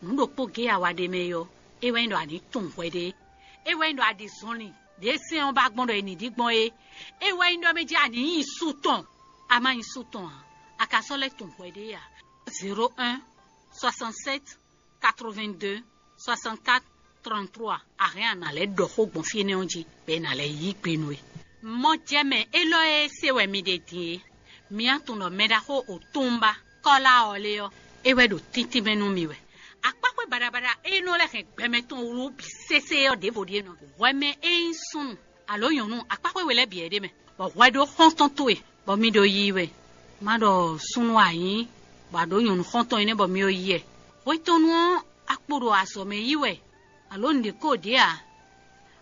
Nǔ ɖokpó géé a wa ɖ'é mɛ é ɔ́, é wɛ nyí ɖɔ a nǐ tunwun hwɛ ɖé. É wɛ nyí ɖɔ a ɖi zɔnlin ɖě sɛ́n ɔ́ ba gbɔn ɖɔ è nǐ ɖi gbɔn é. É wɛ nyí ɖɔ mɛ jí a nǐ nyi su tɔn. A ma nyi su tɔn ǎ, a ka sɔ́ lɛ́ tunwun hwɛ ɖé ǎ. Zéro un, soixante-sept, quatre-vingt-deux, soixante-quatre, trente-trois. A hɛn a nǎ lɛ́ ɖɔ xó gbɔn fí énɛ́ ɔ́ jí, bɔ è nǎ lɛ́ yí gbe nú we. Mɔjɛmɛ élɔ́ e se wɛ mi ɖe din é, mi tunwun ɖɔ mɛɖaxó Otunba Kɔ́la ɔ́ lé ɔ́, é wɛ ɖo tíntín mɛ nú mi wɛ. Akpáxwé baɖabaɖa e nɔ lɛ́ hɛn gbɛmɛ tɔn wlú bǐ sésé ɔ́ ɖěvo ɖíe nɔ. Hwɛ mɛ e nyí súnnu alo nyɔ̌nu, akpáxwé we lɛ́ɛ bǐ wɛ ɖ'é mɛ, bɔ hwɛ ɖó xɔ́ntɔn towe, bɔ mi ɖo yiyi wɛ. Má ɖɔ súnnu a nyǐ, bɔ a ɖǒ nyɔ̌nu xɔ́ntɔn énɛ́ bɔ mi ɖo yi wɛ. Hwetɔnnu ɔ́, a kpo ɖo azɔ̌ mɛ yí wɛ, alo nǔɖé ko ɖě ǎ.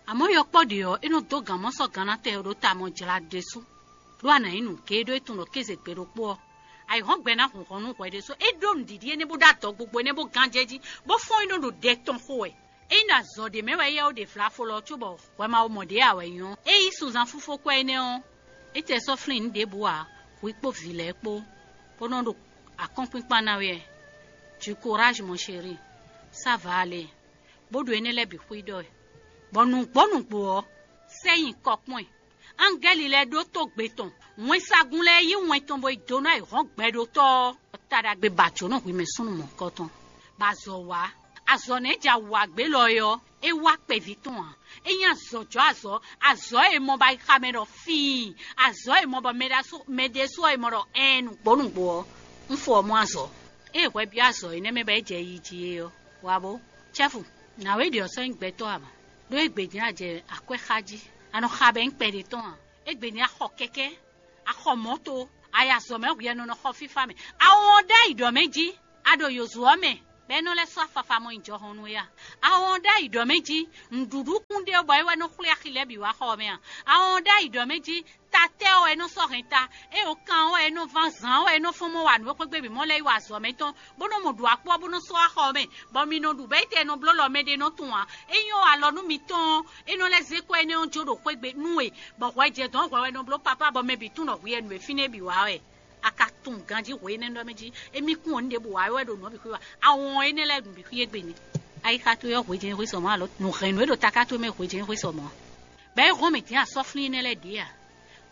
Amɔ̌, yɔkpɔ́ ɖě ɔ́, é nɔ dó gǎn mɔ sɔ́ gannatɛn ɔ́ ɖó ta mɔ jlá ɖésú, ɖó a nǎ nyí nǔgéé ɖó é tunwun ɖɔ kéze gbe ɖokpó ɔ́, ayǐhɔ́ngbe ná hun hɔn nú hwɛ ɖésú. É ɖó nǔɖiɖi énɛ́ bó ɖó adɔgbogbo énɛ́ bó gán jɛ jí, bó fɔ́n é nɔ ɖo ɖɛ tɔn xo wɛ. Ényí ɖo azɔ̌ ɖé mɛ wɛ éyɛ́ ó ɖe vlafo lɔ cóbɔ hwɛ ma wo mɔ ɖě ǎ wɛ nyí ɔ́, é yí sunzán fúnfó kwɛ́ énɛ́ ɔ́, é tɛ sɔ́ flín nǔ ɖěbǔ ǎ, hwi kpó vǐ lɛ́ɛ kpó, bó nɔ́ ɖo akɔ́nkpinkpan ná we wɛ. Du courage, mon chéri, ça va aller, bó ɖo énɛ́ lɛ́ɛ bǐ xwíɖɔ wɛ. Bɔ nǔgbó nǔgbó ɔ́, sɛ nyi kɔ kpɔ́n ɛ. Angɛ́li lɛ́ɛ ɖótó gbe tɔn, wɛnsagun lɛ́ɛ yí wɛn tɔn bó yi dó ná yi hɔn gbɛɖótɔ́ ɔ́, ta ɖagbe ba jǒnɔ hwi mɛ súnnu mɔ̌hunkɔtɔn, bɔ azɔ̌ wá. Azɔ̌ nɛ́ jɛ awǎgbé lɔ é ɔ́, é wá kpɛví tɔn ǎ. É nyí azɔ̌jɔ́ azɔ̌, azɔ̌ e mɔ bɔ ayixa mɛ ɖɔ fíin, azɔ̌ e mɔ bɔ mɛ ɖésú ɔ́ e mɔ ɖɔ ɛɛn nǔgbó nǔgbó ɔ́, un fo ɔ́ mɔ azɔ̌. Ée hwɛ byɔ́ azɔ̌ énɛ́ mɛ bɔ é jɛ yi jí é ɔ́, wǎ bó. Cɛ́fu, nǎwe ɖě ɔ́ sɔ́ nyí gbɛtɔ́ ǎ mɔ, ɖó égbé din a jɛ akwɛ́ xa jí. A nɔ xa bɔ é nyí kpɛɖé tɔn ǎ. Égbé din a xɔ kɛkɛ́, a xɔ mɔ̌to, a yi azɔ̌ mɛ hwi a nɔ nɔ xɔ fífá mɛ. A wɔn ɖ'ayǐ ɖɔ mɛ jí, a ɖo yǒzo ɔ́ mɛ, bɔ é nɔ lɛ́ sɔ́ afafa mɔ nyi jɔhɔn nú é a? Awɔn ɖ'ayǐ ɖɔ mɛ jí, nǔɖuɖu kún ɖe bɔ é wɛ nɔ xwlé axi lɛ́ɛ bǐ wá xɔ ɔ́ mɛ a? Awɔn ɖ'ayǐ ɖɔ mɛ jí, ta tɛ́ ɔ́ wɛ é nɔ sɔ́ hɛn ta, é o kan ɔ́ wɛ é nɔ ván zǎn ɔ́ wɛ é nɔ fɔ́n mɔ wa nǔ e xwé gbe bǐ mɔ lɛ́ɛ yi wa azɔ̌ mɛtɔn, bó nɔ́ mɔ ɖu akpó ɔ́ bó nɔ́ sɔ́ wá xɔ ɔ́ mɛ, bɔ mi nɔ ɖu bɛ́ yi tɛ nɔ bló lɔ mɛ ɖé nɔ tunwun ǎ. É nyɔ́ alɔ nú mitɔn ɔ́, é nɔ lɛ́ zé kɔ́ énɛ́ ɔ́ jó ɖo xwé gbe nú we, bɔ hwɛ jɛ dɔ̌n hwɛ wɛ nɔ bló papá bɔ mɛ bǐ tunwun ɖɔ hwi wɛ nǔ e fínɛ́ bǐ wa wɛ. A ka tunwun ganjí hwe énɛ́ ɖɔ mɛ jí, émí kún ɔ́ nǔɖé bǔ wa wɛ ɖo nǔ ɔ́ bǐ xwé wa. Awɔn énɛ́ lɛ́ɛ nǔ bǐ xwí égbé nɛ́. Ayixa towe ɔ́ hwejɛ́n xwé sɔ mɔ̌ alo nǔ hɛn nǔ e ɖo taká towe mɛ hwejɛ́n xwé sɔ mɔ̌ a? Bɔ é hɔn mɛ din asɔ́flín énɛ́ lɛ́ɛ ɖě a?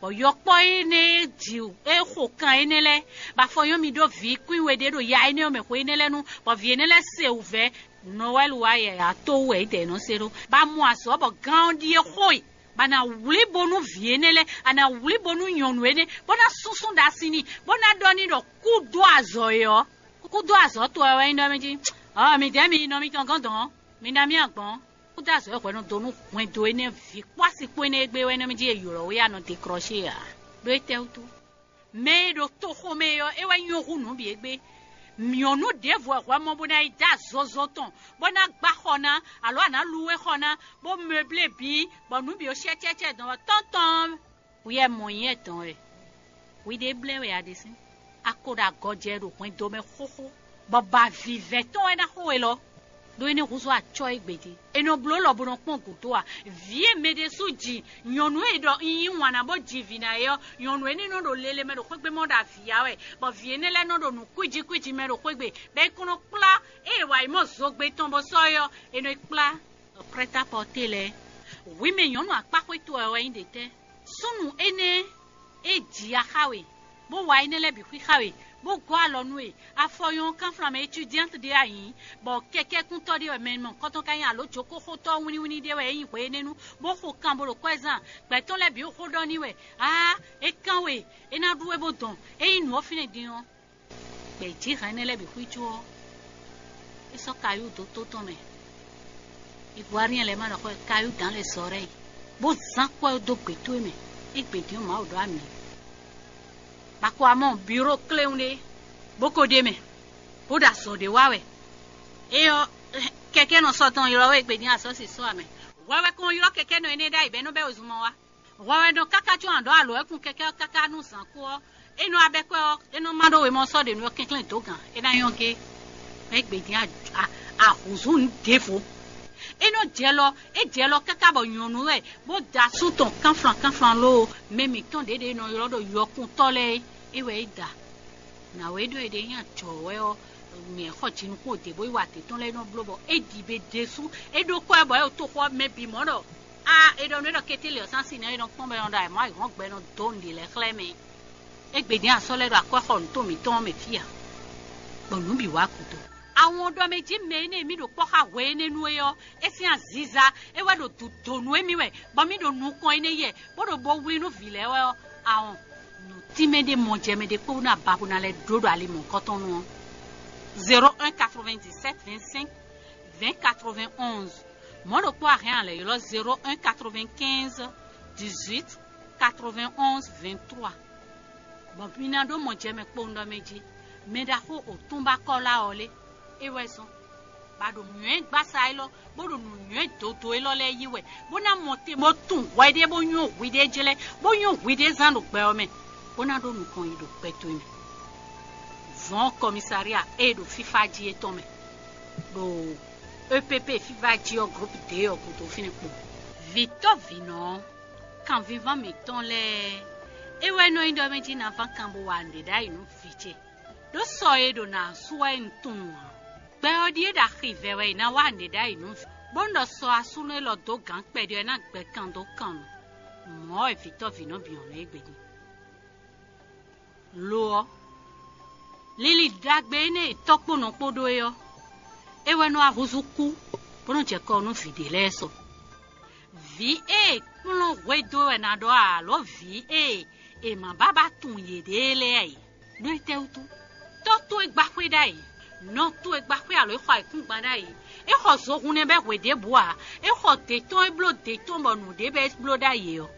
Bɔ yɔkpɔ́ énɛ́ e jǐ e xo kan énɛ́ lɛ́ɛ, bɔ afɔ nyɔ́ mi ɖó vǐ kwín we ɖé ɖo ya énɛ́ ɔ́ mɛ xwe énɛ́ lɛ́ɛ nu, bɔ vǐ énɛ́ lɛ́ɛ se wǔvɛ́. Nɔwɛ́lu wá yɛ a tó wú wɛ é dɛ nɔ se ɖó. Bɔ a mɔ azɔ̌ bɔ gán ɔ́ ɖíe xó e, bɔ a nǎ wlí bónú vǐ énɛ́ lɛ́ɛ, a nǎ wlí bónú nyɔ̌nu énɛ́, bó ná súnsún ɖa sin n'i, bó ná ɖɔ n'i ɖɔ kú dó azɔ̌ é ɔ́, kú dó azɔ̌ towe wɛ nyí ɖɔ mɛ jí. Ɔ́, midɛɛ mi yi nɔ mitɔn gɔ́n dɔ̌n, mi ná mì agbɔ̌n. Kú dó azɔ̌ é hwɛ nɔ dó nú hwɛndo énɛ́ vǐ kpó asi kpó énɛ́ e gbé wɛ nɔ mɛ jí è ylɔ̌ we a nɔ deklɔ́she ǎ. Ɖó étɛ́wútu? Mɛ e ɖo toxo mɛ é ɔ́, é wɛ nyɔ́ hú nǔ bǐ égbé. Nyɔ̌nu ɖěvo wɛ hwɛ mɔ bó ná yi dó azozo tɔn, bó ná gbá xɔ ná, alo a nǎ lu we xɔ ná, bó mɛblé bǐ, bɔ nǔ bǐ ó shɛ́cɛ́cɛ́ dɔn wɛ tɔ́ntɔn. Wi wɛ mɔ nyɛ dɔn wɛ. Wi ɖé blɛ́ wɛ a ɖe sín. A ko ɖo agɔjɛ ɖo hwɛndo mɛ xóxó, bɔ ba vǐvɛ́ tɔn wɛ ná xo we lɔ. Ɖó é ní húzú acɔ́ égbé din. È nɔ bló lɔ bó nɔ kpɔ́n gǔdo a? Vǐ e mɛ ɖésú ji, nyɔ̌nu e ɖɔ un yí wǎn ná bó ji vǐ ná é ɔ́, nyɔ̌nu énɛ́ nɔ ɖo lele mɛ ɖo xwégbé mɔ ɖo avǐ ya wɛ, bɔ vǐ énɛ́ lɛ́ɛ nɔ ɖo nǔ kwíji kwíji mɛ ɖo xwégbé, bɔ é kɔn nɔ kplá ée è wa yi mɔ zogbe tɔn bó sɔ́ é ɔ́, è nɔ yi kplá. Prêt-à-porter lɛ́ɛ, hwi mɛ nyɔ̌nu akpáxwé towe wɛ nyí ɖětɛ́? Súnnu énɛ́ e ji ya xá we, bó wa énɛ́ lɛ́ɛ bǐ xwíxá we, bó gɔ́ alɔ nú we, afɔ nyɔ́ kánflán mɛ étudiante ɖé a nyǐ, bɔ kɛkɛ́kúntɔ́ ɖé wɛ mɛ mɔ̌hunkɔtɔn ka nyí alo jǒkóxótɔ́ wínníwínní ɖé wɛ é nyí hwe énɛ́ nu, bó xo kan bó ɖo kwɛ́ zán, gbɛ̌ tɔn lɛ́ɛ bǐ xo ɖɔ n'i wɛ, aa, é kán we, é ná ɖú we bó dɔn, é nyí nǔ ɔ́ fínɛ́ din ɔ́. Gbɛ̌jǐhɛn énɛ́ lɛ́ɛ bǐ xwícó ɔ́, é sɔ́ kayú dó tó tɔn mɛ. Ivoiriɛn lɛ́ɛ ma ɖɔ xɔ kayú dǎn lɛ zɔ ɖɛ́ yi, bó zán kɔ́ ɛ dó gbě towe mɛ, é gbě dín Mawu ɖó amǐ. Bako amɔ biro kléwún ɖé, bó ko ɖ'é mɛ, bó ɖo azɔ̌ ɖé wa wɛ. É ɔ́, kɛkɛ́nɔ sɔ́ tɔn ylɔ́ wɛ é gbě dín asɔ́si sɔ́ amɛ. Hwɛ wɛ kɔn ylɔ́ kɛkɛ́nɔ énɛ́ ɖ'ayǐ bɔ é nɔ bɛ́ wezun mɔ wá. Hwɛ wɛ nɔ káká có a ɖǒ alǒ wɛ́ kun kɛkɛ́ ɔ́ káká nú zǎn kú ɔ́, é nɔ abɛ́kɔ́ ɔ́, é nɔ má ɖó wemɔ sɔ́ ɖě nú ɔ́ kɛnklɛ́n dǒ gǎn, é ná nyɔ́ gé. Mɛ é gbě dín ahǔzú nǔ ɖěvo. É nɔ jɛ lɔ, é jɛ lɔ káká bɔ nyɔ̌nu wɛ, bó da asú tɔn kánflan kánflan lóo, mɛ mǐtɔn ɖě ɖě nɔ ylɔ́ ɖɔ yɔkuntɔ́ lɛ́ɛ é, é wɛ é da. Nǎwe ɖɔ è ɖe nyi ajɔ̌ wɛ ɔ́, mɛ xɔ jinukún òde bó yi wa adě tɔn lɛ́ɛ nɔ bló bɔ é ɖi be ɖésú, é ɖó kɔ́ ɛ bɔ é ɖo toxo ɔ́ mɛ bǐ mɔ ɖɔ a è ɖɔ nú é ɖɔ kété lě ɔ́ sín asi nɛ́ é nɔ kpɔ́n bɔ é nɔ ɖo ayǐmɔ ayǐhɔ́ngbe nɔ dó nǔɖé lɛ́ɛ xlɛ́ mɛ. É gbe dín asɔ́ lɛ́ɛ ɖo akwɛ́xɔ nǔtɔn mǐtɔn ɔ́ mɛ fí ǎ, bɔ nǔ bǐ wá gǔdo. Awɔn ɖɔ mɛ jí mɛ énɛ́ e mì ɖo kpɔ́ xá hwe énɛ́ nu é ɔ́, é sín aziza é wɛ ɖo dǔ dó nú émí wɛ, bɔ mì ɖo nukɔn énɛ́ yɛ, bó ɖo bo wlí nú vǐ lɛ́ɛ wɛ ɔ́, awɔn nǔtínmɛ ɖé mɔjɛmɛ ɖé kpó ná ba bó ná lɛ́ ɖó ɖo ali mɔ̌hunkɔtɔn nu ɔ́. Zéro un quatre-vingt-dix-sept vingt-cinq vingt quatre-vingt-onze. Mɔ̌ ɖokpó a hɛn a lɛ̌ ylɔ́ zéro un quatre-vingt-quinze dix-huit quatre-vingt-onze vingt-trois. Bɔ mi ná ɖó mɔjɛmɛ kpowun ɖɔ mɛ jí, mɛ ɖaxó òtúnbákɔ́lá ɔ́ lé, é wɛ zɔ́n, bɔ a ɖo nǔnywɛ́gbasa élɔ́, bó ɖo nǔnywɛ́ dodo élɔ́ lɛ́ɛ yí wɛ, bó ná mɔ te bó tunwun hwɛ ɖé bó nywɔ́ hwi ɖé jlɛ́, bó nywɔ́ hwi ɖé zán ɖo gbɛ ɔ́ mɛ, bó ná ɖó nukɔn yi ɖo gbɛ towe mɛ. Vɔ̌n kɔmisaria e ɖo fífá jí é tɔn mɛ, ɖo E P P fífá jí ɔ́ groupe D ɔ́ gúdo fínɛ́ kpo. Vǐtɔ́vǐnɔ ɔ́, kanvínván mǐtɔn lɛ́ɛ, é wɛ nɔ nyí ɖɔ mɛ jí ná ván kan bó wa nǔɖé ɖ'ayǐ nú vǐ ce. Ɖó sɔ e ɖo nǎ sú wɛ un tunwun ǎ. Gbɛ ɔ́ ɖíe ɖo axi vɛ wɛ è nǎ wa nǔɖé ɖ'ayǐ nú vǐ, bónú ɖɔ sɔ asúnɔ élɔ́ dó gǎn kpɛɖé ɔ́ ná gbɛ kan dó kan nu. Mɔ̌ wɛ vǐtɔ́vǐnɔ bǐ nyɔ̌nu égbé din. Lo ɔ́, lili ɖagbe énɛ́ e tɔ́ kpó nɔ kpó ɖó é ɔ́, é wɛ nɔ wá húzú kú, bó nɔ́ jɛ kɔ nú vǐ ɖé lɛ́ɛ sɔ. Vǐ e è kplɔ́n hwedó wɛ ná ɖɔ ǎ, alǒ vǐ e è ma bá ba tunwun yěɖée lɛ́ɛ ǎ é. Ɖó étɛ́wútu? Tɔ́ towe gbá xwé ɖ'ayǐ, nɔ towe gbá xwé alǒ é xɔ ayǐkúngban ɖ'ayǐ. É xɔ zohun nɛ́ bɛ́ hwe ɖěbǔ ǎ. É xɔ dě tɔn, é bló dě tɔn bɔ nǔɖé bɛ́ é bló ɖ'ayǐ é ɔ́,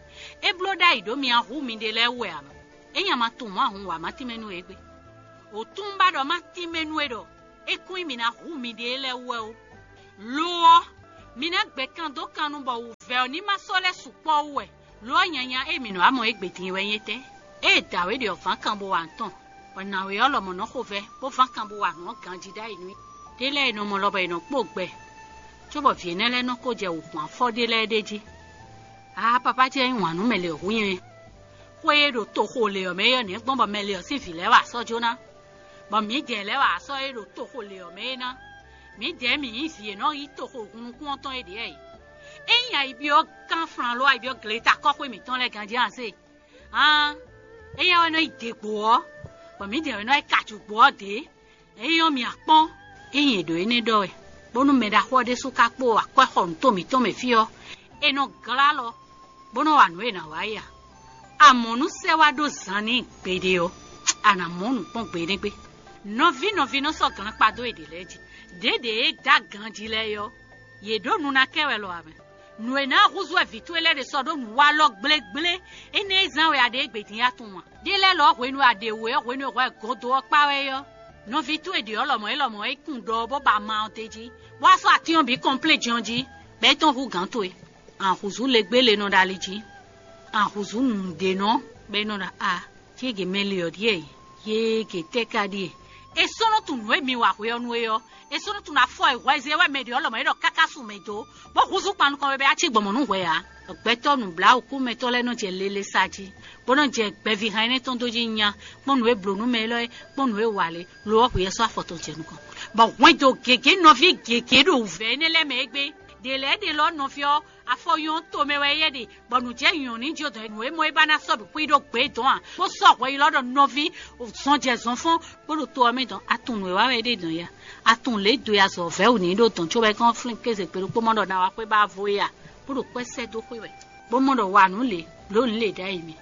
é bló ɖ'ayǐ ɖó mi ná hu miɖée lɛ́ɛ wú wɛ ǎ. Ényí a ma tunwun mɔ̌ a hun wǎ ma tínmɛ nú we égbé. Wǒtún un ba ɖɔ má tínmɛ nú we ɖɔ É kún nyí mǐ ná hu miɖée lɛ́ɛ wú wɛ ó. Lo ɔ́, mi ná gbɛ kan dó kan nu bɔ wǔvɛ́ ɔ́ ní ma sɔ́ lɛ́ sukpɔ́ wú wɛ. Lo ɔ́, nyanya e mǐ nɔ wá mɔ égbé din wɛ nyí étɛ́? Ée dǎwe ɖě ɔ́ ván kan bó wa nǔ tɔn, bɔ nǎwe ɔ́ lɔmɔ̌ nɔ xovɛ́, bó ván kan bó wa nǔ ɔ́ ganjí ɖ'ayǐ nú i. Ɖé lɛ́ɛ è nɔ mɔ lɔ bɔ è nɔ kpó gbɛ, cóbɔ vǐ énɛ́ lɛ́ɛ nɔ ko jɛ wǔ gbɔn afɔ ɖé lɛ́ɛ ɖ'é jí. Aa, papá ce nyí wǎn nú mɛ lě ɔ́ hu nyɛ. Xwé e ɖo toxo lě ɔ́ mɛ é ɔ́, nɛ̌ gbɔn bɔ mɛ lě ɔ́ sín vǐ lɛ́ɛ wa sɔ́ jó ná? Bɔ mǐdɛɛ lɛ́ɛ wa sɔ́ é ɖo toxo lě ɔ́ mɛ é ná. Mǐdɛɛ mǐ nyí vǐ e nɔ yí toxo hun nukún ɔ́ tɔn é ɖě wɛ. Ényí ayi byɔ́ kánflán ló ayi byɔ́ gleta kɔ́xwé mǐtɔn lɛ́ɛ ganjí a se? Haan, éyɛ́ wɛ nɔ yi dě gbo ɔ́, bɔ mǐdɛɛ wɛ nɔ yi ka jǔgbó ɔ́ dě. Ényí ɔ́, mi akpɔ́n, ényí è ɖǒ énɛ́ ɖɔ wɛ, bónú mɛ ɖaxó ɔ́ ɖésú ka kpó akwɛ́xɔnǔtɔn mǐtɔn mɛ fí ɔ́, è nɔ glá alɔ, bó nɔ́ wa nǔ e è nǎ wa é ǎ. Amɔ̌ nú sɛ́ wá ɖó zan n'i gbeɖé ɔ́, a nǎ mɔ nǔ kpɔ́n gbeɖégbé. Nɔví nɔví nɔ sɔ́ glán kpa dó yěɖée lɛ́ɛ jí. Ɖěɖě e dó aganjí lɛ́ɛ é ɔ́, yě ɖó nu ná kɛ wɛ lɔ ǎ mɛ. Nǔ e ná húzú wɛ vǐ towe lɛ́ɛ ɖe sɔ́ ɖó nǔ wa alɔ gblégblé énɛ́ e zán wɛ a ɖe égbé din a tunwun a? Ɖé lɛ́ɛ lɔ hwenu e a ɖe wǔ é hwenu e hwɛ godo ɔ́ kpá wɛ é ɔ́, nɔví towe ɖě ɔ́ lɔmɔ̌ é lɔmɔ̌ é kun ɖɔ ɔ́ bó ba ama ɔ́ d'é jí, bó wá sɔ́ atín ɔ́ bǐ kɔnplé jɔn jí, bɔ é tɔ́n hú gǎn towe. Ahǔzú legbé le nɔ ɖo ali jí, ahǔzú nǔɖénɔ bɔ é nɔ ɖɔ a cége mɛ le ɔ́ ɖíe yége tɛ́ ka ɖíe? È sɔ́ nɔ tunwun nǔ e mi wa hwe ɔ́ nú é ɔ́, è sɔ́ nɔ tunwun afɔ e hwɛ zé wɛ mɛ ɖě ɔ́ lɔmɔ̌ é ɖɔ káká su mɛ dó, bó húzú kpan nukɔn bɔ é cí gbɔn mɔ̌ nú hwɛ ǎ. Gbɛtɔ́ nǔbláwǔkúmɛtɔ́ lɛ́ɛ nɔ jɛ lele sa jí, bó nɔ jɛ gbɛvíhan énɛ́ tɔn dó jí nya, kpɔ́n nǔ e blǒ nú mɛ élɔ́ é, kpɔ́n nǔ e wa lě, lo ɔ́ hwǐ ɔ́ sɔ́ afɔ tɔn jɛ nukɔn, bɔ hwɛndo gěgé nɔví gěgé ɖo wǔvɛ́ énɛ́ lɛ́ɛ mɛ égbé. Ɖě lɛ́ɛ ɖě lɔ nɔví ɔ́, afɔ nyɔ́ tomɛ wɛ éyɛ́ ɖe, bɔ nǔ jɛ nyɔ̌ ní jó dɔn nǔ e mɔ é ba ná sɔ́ bǐ xwí ɖó gbě dɔn a? Bó sɔ́ hwɛ yi lɔ ɖɔ nɔví zɔn jɛ zɔn fɔ́n, bó ɖo to ɔ́ mɛ dɔn. A tunwun nǔ e wa wɛ é ɖe dɔn ya? A tunwun lě e do ya zɔ vɛ̌ wǔ ní ɖó dɔn cóbɔ é kɔn flín kéze gbe ɖokpó mɔ ɖɔ ná wá xwé ba vo é a? Bó ɖo kwɛ́ sɛ́ dó xwé wɛ, bó mɔ ɖɔ wa nǔ lě, blǒ nǔ lě ɖ'ayǐ mɛ.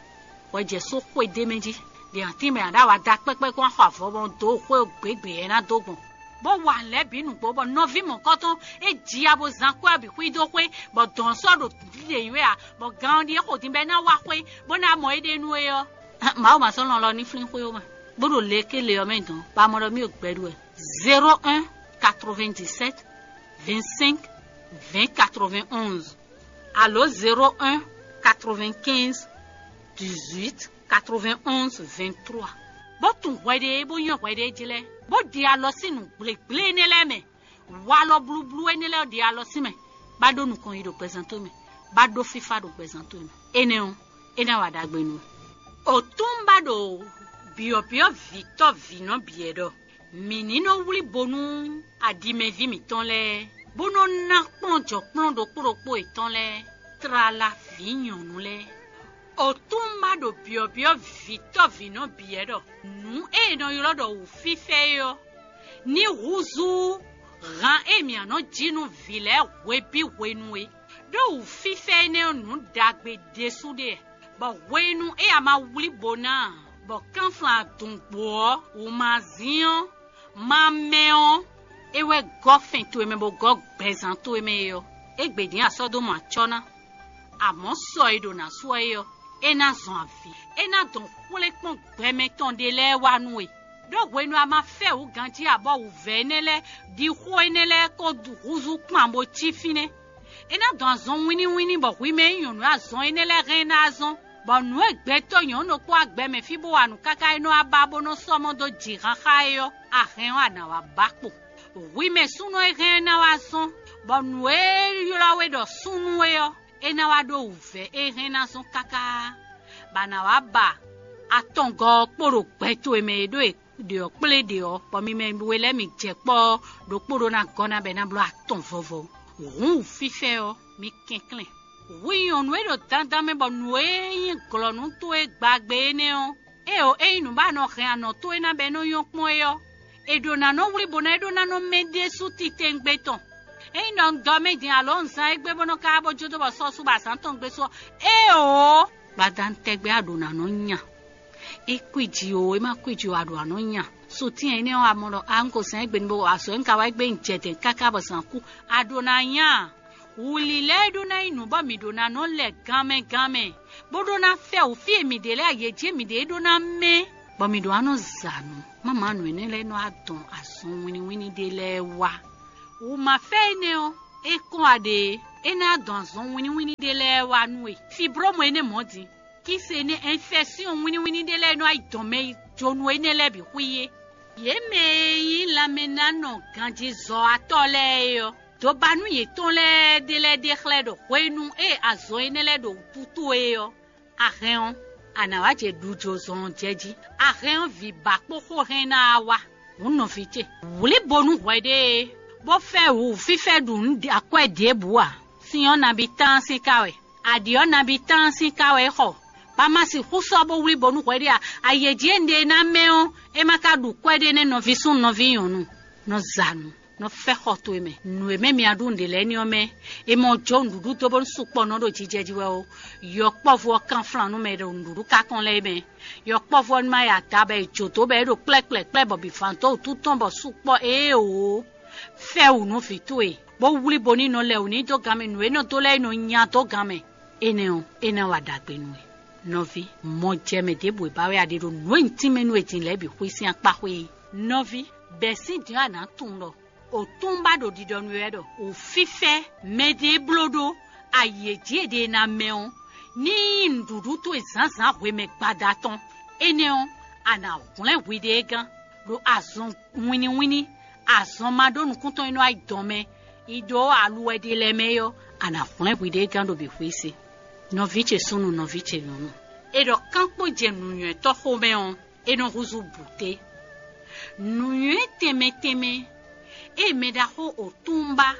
Hwɛ jɛ só xwé d'é mɛ jí, ɖě ǎ tín mɛ ǎ ɖo awa da kpɛ́kpɛ́ kɔn xɔ avɔ bɔ dǒ xwé gběgbě ɛ ná dó gbɔn, bó wa lɛ̌ bǐ nǔgbó, bɔ nɔví mɔ̌kɔ́tɔn é ji ya bó zán kwɛ́ ɔ́ bǐ xwí dó xwé, bɔ dɔ̌n sɔ́ ɖo ɖiɖe nyí wɛ ǎ, bɔ gan ɔ́ ɖíe xo din bɔ é ná wá xwé, bó ná mɔ éɖée nú é ɔ́. Mawu ma sɔ́ lɔn lɔ ní flín xwé ó ma, bó ɖo le ké le ɔ́ mɛ dɔn, bɔ a mɔ ɖɔ mí ɖo gbɛ ɖu wɛ. Zéro un quatre-vingt-dix-sept vingt-cinq vingt quatre-vingt-onze, alo zéro un quatre-vingt-quinze dix-huit quatre-vingt-onze vingt-trois. Bó tunwun hwɛɖée bó nywɛ́ hwɛɖée jí lɛ́ɛ, bó ɖi alɔ sín nǔ gblěgblé énɛ́ lɛ́ɛ mɛ. Walɔ blúblú énɛ́ lɛ́ɛ ɖi alɔ sín mɛ, bá ɖó nukɔn yi ɖo gbɛzán towe mɛ, bá ɖó fífá ɖo gbɛzán towe mɛ. Énɛ́ ɔ́, é ná wa ɖagbe nú we. Otúnba ɖo byɔ̌byɔ́ vǐtɔ́ vǐnɔ bǐ wɛ ɖɔ: Mǐ ní nɔ wlí bo nú aɖimɛví mǐtɔn lɛ́ɛ, bó nɔ́ ná kplɔ́n jɔ̌kplɔ́n ɖokpó ɖokpó yětɔn lɛ́ɛ, tlala vǐ nyɔ̌nu lɛ́ɛ. Otúnba ɖo byɔ̌byɔ́ vǐtɔ́ vǐnɔ bǐ wɛ ɖɔ: Nǔ e è nɔ ylɔ́ ɖɔ wǔfífɛ́ é ɔ́, ní húzú han e mǐ nɔ jí nú vǐ lɛ́ɛ hwebǐ hwenu é. Ɖó wǔfífɛ́ énɛ́ ɔ́, nǔ ɖagbe ɖésú ɖe, bɔ hwenu e a ma wlí bo ná ǎ, bɔ kánflán adungbo ɔ́, wǔmazín ɔ́, ma mɛ ɔ́, é wɛ gɔ́ fɛn towe mɛ bó gɔ́ gbɛzán towe mɛ é ɔ́, égbé din a sɔ́ dó mɔ acɔ́ ná. Amɔ̌ sɔ e ɖo nǎ sú ɔ́ é ɔ́, é ná zɔn avǐ; é ná dɔn xwlé kpɔ́n gbɛmɛ tɔn ɖé lɛ́ɛ wá nú we. Ɖó hwenu a ma fɛ wǔ ganjí ǎ bɔ wǔvɛ́ énɛ́ lɛ́ɛ ɖi xó énɛ́ lɛ́ɛ kó húzú kpan bó cí fínɛ́. É ná dɔn azɔn wínníwínní bɔ hwi mɛ e nyí nyɔ̌nu e azɔn énɛ́ lɛ́ɛ hɛn ná zɔn, bɔ nǔ e gbɛtɔ́ nyɔ̌nu ɖokpó agbɛ mɛ fí bó wa nǔ káká é nɔ́ wá ba bó nɔ́ sɔ́ mɔ dó jǐ xáxá é ɔ́, a hɛn ɔ́ a nǎ wá ba kpo. Hwi mɛ súnnu e hɛn ná wá zɔn, bɔ nǔ e ylɔ́ we ɖɔ súnnu é ɔ́, é ná wá ɖó wǔvɛ́ e hɛn ná zɔn káká, bɔ a nǎ wá ba atɔngɔ́ ɔ́ kpo ɖo gbɛ towe mɛ e ɖó e ɖě ɔ́ kplé ɖě ɔ́, bɔ mi mɛ we lɛ́ɛ mi jɛ kpɔ́ ɔ́, ɖokpó ɖó ná gɔ́ ná bɔ é ná bló atɔn vɔvɔ. Hǔn wǔfífɛ́ ɔ́, mi kɛnklɛ́n. Hwi nyɔ̌nu e ɖo dandan mɛ bɔ nǔ e nyí glɔ̌nu towe gbagbe énɛ́ ɔ́, éeǒ, ényí nǔ ba nɔ hɛn anɔ̌ towe ná bɔ é nɔ́ nyɔ́ kpɔ́n é ɔ́, è ɖǒ ná nɔ wlí bo ná é ɖó ná nɔ mɛ ɖésú titewungbe tɔn. Ényí ɖɔ un dɔ mɛ din alo un zán égbé bó nɔ́ ka bó jó dó bɔ sɔ́ sú bɔ azǎn tɔn gbe sú ɔ́, éeǒ, gbadanu tɛgbɛ a ɖǒ ná nɔ nya. É kwíji o, é má kwíji o, a ɖǒ ná nɔ nya. Sutɛ́n énɛ́ ɔ́, a mɔ ɖɔ a un ko zán égbé ní bó azɔ̌ e un ka wa égbé un jɛ dɛ̌n káká bɔ zǎn kú, a ɖǒ ná nya. Wǔlilɛ́ e ɖó ná nyí nǔ bɔ mǐ ɖó ná nɔ lɛ ganmɛ ganmɛ, bó ɖó ná fɛ wǔ fí e mǐ ɖe lɛ́ɛ, yě jí mǐ ɖe é ɖó ná mɛ. bɔ mǐ ɖó ná nɔ za nǔ. Máma nǔ énɛ́ lɛ́ɛ nɔ wá dɔn azɔn wínníwínní ɖé lɛ́ɛ wá. Wǔmafɛ́ énɛ́ ɔ́, é kɔn wá ɖe é ná dɔn azɔn wínníwínní ɖé lɛ́ɛ wá nú we. Fibrómu énɛ́ mɔ̌ din, kíse énɛ́ ɛnfɛsyɔn wínníwínní ɖé lɛ́ɛ nɔ wá yi dɔn mɛ yi jonu énɛ́ lɛ́ɛ bǐ xwí é. Yě mɛ e nyí lanmɛnánɔ ganjizɔ́watɔ́ lɛ́ɛ é ɔ́, dǒbanú yětɔn lɛ́ɛ ɖé lɛ́ɛ ɖe xlɛ́ ɖɔ hwenu e azɔn énɛ́ lɛ́ɛ ɖo wútu towe é ɔ́, a hɛn ɔ́, a nǎ wá jɛ ɖujozɔn ɔ́ jɛ jí. A hɛn ɔ́, vǐ ba kpó xó hɛn ná wá. Hǔn nɔví ce, wlí bo nú hwɛɖée, bó fɛ́ wǔ fífɛ́ ɖu nǔ akwɛ́ ɖěbǔ ǎ. Sin ɔ́ nabí tán sín ká wɛ, aɖǐ ɔ́ nabí tán sín ká wɛ é xɔ, bɔ a ma sixú sɔ́ bó wlí bo nú hwɛɖée ǎ. Ayě jí e un ɖe ná mɛ ɔ́, é ma ka ɖu kwɛ́ ɖé nɛ́ nɔví súnnu nɔví nyɔ̌nu, nɔ za nǔ, nɔ fɛ́ xɔ towe mɛ. Nǔ e mɛ mi a ɖu nǔɖé lɛ́ɛ ní ɔ́ mɛ, è mɔ jó nǔɖuɖu dó bónú sukpɔ́ nɔ ɖo jijɛ jí wɛ ó. Yɔkpɔ́vú ɔ́ kánflán nú mɛ e ɖo nǔɖuɖu ká kɔn lɛ́ɛ mɛ. Yɔkpɔ́vú ɔ́ ní má ya da bɔ è jǒ dó bɔ é ɖo kplɛ́kplɛ́kplɛ́ bɔ bǐ fan dó wǔtu tɔn bɔ sukpɔ́ éeǒ. Fɛ́ wǔ nú vǐ towe, bó wlí bo ní nɔ lɛ wǔ ní dó gan mɛ nǔ e nɔ dó lɛ́ɛ nɔ nya dó gan mɛ. Énɛ́ ɔ́, é ná wa ɖagbe nú we. Nɔví, mɔ jɛ mɛ ɖěbǔ e ba wɛ a ɖe ɖo nǔ e un tínmɛ nú we din lɛ́ɛ bǐ xwí sín akpá xwé é. Nɔví, bɛ̌ sín din ɔ́ a nǎ tunwun ɖɔ Otúnba ɖo ɖiɖɔ nú we wɛ ɖɔ wǔfífɛ́ mɛɖée bló ɖó ayi e jí è ɖe ná mɛ ɔ́, ní nyí nǔɖuɖu towe zǎnzǎn hwemɛ gbada tɔn. Énɛ́ ɔ́, a nǎ hwlɛ́n hwiɖée gán ɖo azɔn wínníwínní, azɔn ma ɖó nukúntɔn e nɔ wá yi dɔn mɛ yi ɖó aluwɛ ɖé lɛ́ɛ mɛ é ɔ́, a nǎ hwlɛ́n hwiɖée gán ɖo bǐ xwé se. Nɔví ce súnnu, nɔví ce nyɔ̌nu, è ɖɔ kán kpó jɛ nǔnywɛ́tɔ́ xomɛ ɔ́, é nɔ húzú bǔté. Nǔnywɛ́ tɛnmɛ tɛnmɛ e mɛ ɖaxó Otúnba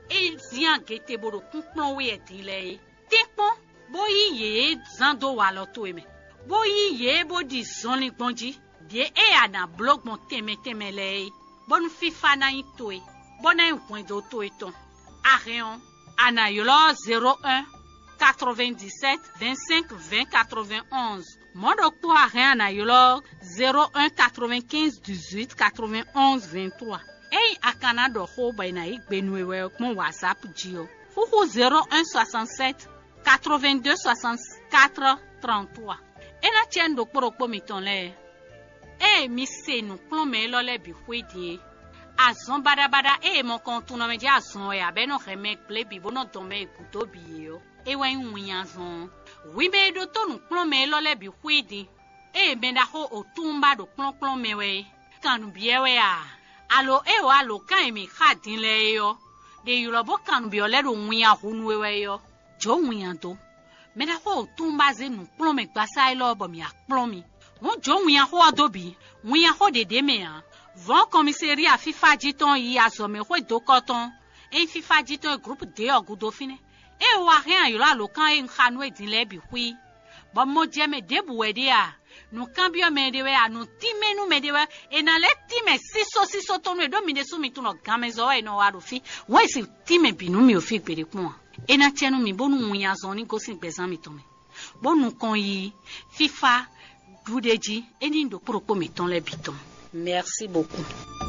e zín agete bó ɖo kúnkplɔ́n wɛ din lɛ́ɛ é, tɛ́nkpɔ́n bó yí yě zán dó walɔ towe mɛ, bó yí yě bó ɖi zɔnlin gbɔn jí, ɖě e a nǎ bló gbɔn tɛnmɛ tɛnmɛ lɛ́ɛ é, bónú fífá ná nyí towe, bó ná nyí hwɛndo towe tɔn. A hɛn ɔ́, a nǎ ylɔ́ zéro un, quatre-vingt-dix-sept, vingt-cinq, vingt, quatre-vingt-onze. Mɔ̌ ɖokpó a hɛn a nǎ ylɔ́ zéro un, quatre-vingt-quinze, dix-huit, quatre-vingt-onze, vingt-trois. Ényí a ka ná ɖɔ xó bɔ è nǎ yí gbe nú we wɛ ɔ́ gbɔn WhatsApp jí ɔ́, xúxú zéro un, soixante-sept, quatre-vingt-deux, soixante-quatre, trente-trois. É ná cɛ́ nú ɖokpó ɖokpó mitɔn lɛ́ɛ. Ée mi se nǔkplɔ́nmɛ élɔ́ lɛ́ɛ bǐ xwé din é, azɔn baɖabaɖa e è mɔ kɔn tunwun mɛ jɛ́n azɔn wɛ ǎ, bɔ é nɔ hɛn mɛ gblé bǐ bó nɔ dɔn mɛ e gǔdo bǐ é ɔ́, é wɛ nyí winnyazɔn ɔ́. Hwi mɛ e ɖótó nǔkplɔ́nmɛ élɔ́ lɛ́ɛ bǐ xwé din, ée mɛ ɖaxó Otúnba ɖo kplɔ́nkplɔ́n mɛ wɛ é, kan nǔ byɔ́ wɛ a? Alo é wǒ alǒkan e mǐ xa din lɛ́ɛ é ɔ́, ɖe ylɔ́ bó kan nǔ byɔ́ lɛ́ɛ ɖo winnya hu nú we wɛ é ɔ́, jǒ winnya dó. Mɛ ɖaxó Otúnba zé nǔkplɔ́nmɛ gbasá élɔ́ bɔ mǐ wá kplɔ́n mi. Hǔn jǒ winnya xó ɔ́ dó bǐ. Winnya xó ɖě ɖ'é mɛ ǎ. Vɔ̌n kɔmíselia fífá jí tɔn yi azɔ̌mɛxwé dokɔ tɔn e nyí fífá jí tɔn e Glǔpu dě ɔ́ gúdo fínɛ́. Ée wá hɛn aylɔ́ alǒkan e un xa nú we din lɛ́ɛ bǐ xwí, bɔ mɔ jɛ mɛ ɖěbǔ wɛ ɖe a? Nǔkanbyɔ́ mɛ ɖé wɛ a? Nǔ tínmɛ nú mɛ ɖé wɛ? È nǎ lɛ́ tín mɛ sísó sísó tɔn nú we, ɖó mi ɖésú mi tunwun ɖɔ ganmɛzɔ́ wɛ è nɔ wa ɖo fí. Wɛn e si tín mɛ bǐ nú mi ɖo fí gbeɖé kpɔ́n a? É ná cɛ nú mi bónú winnyazɔn ní gosín gbɛzán mitɔn mɛ, bó nukɔn yi fífá ɖuɖéjí é ní ɖokpó ɖokpó mǐtɔn lɛ́ɛ bǐ tɔn. Merci beaucoup.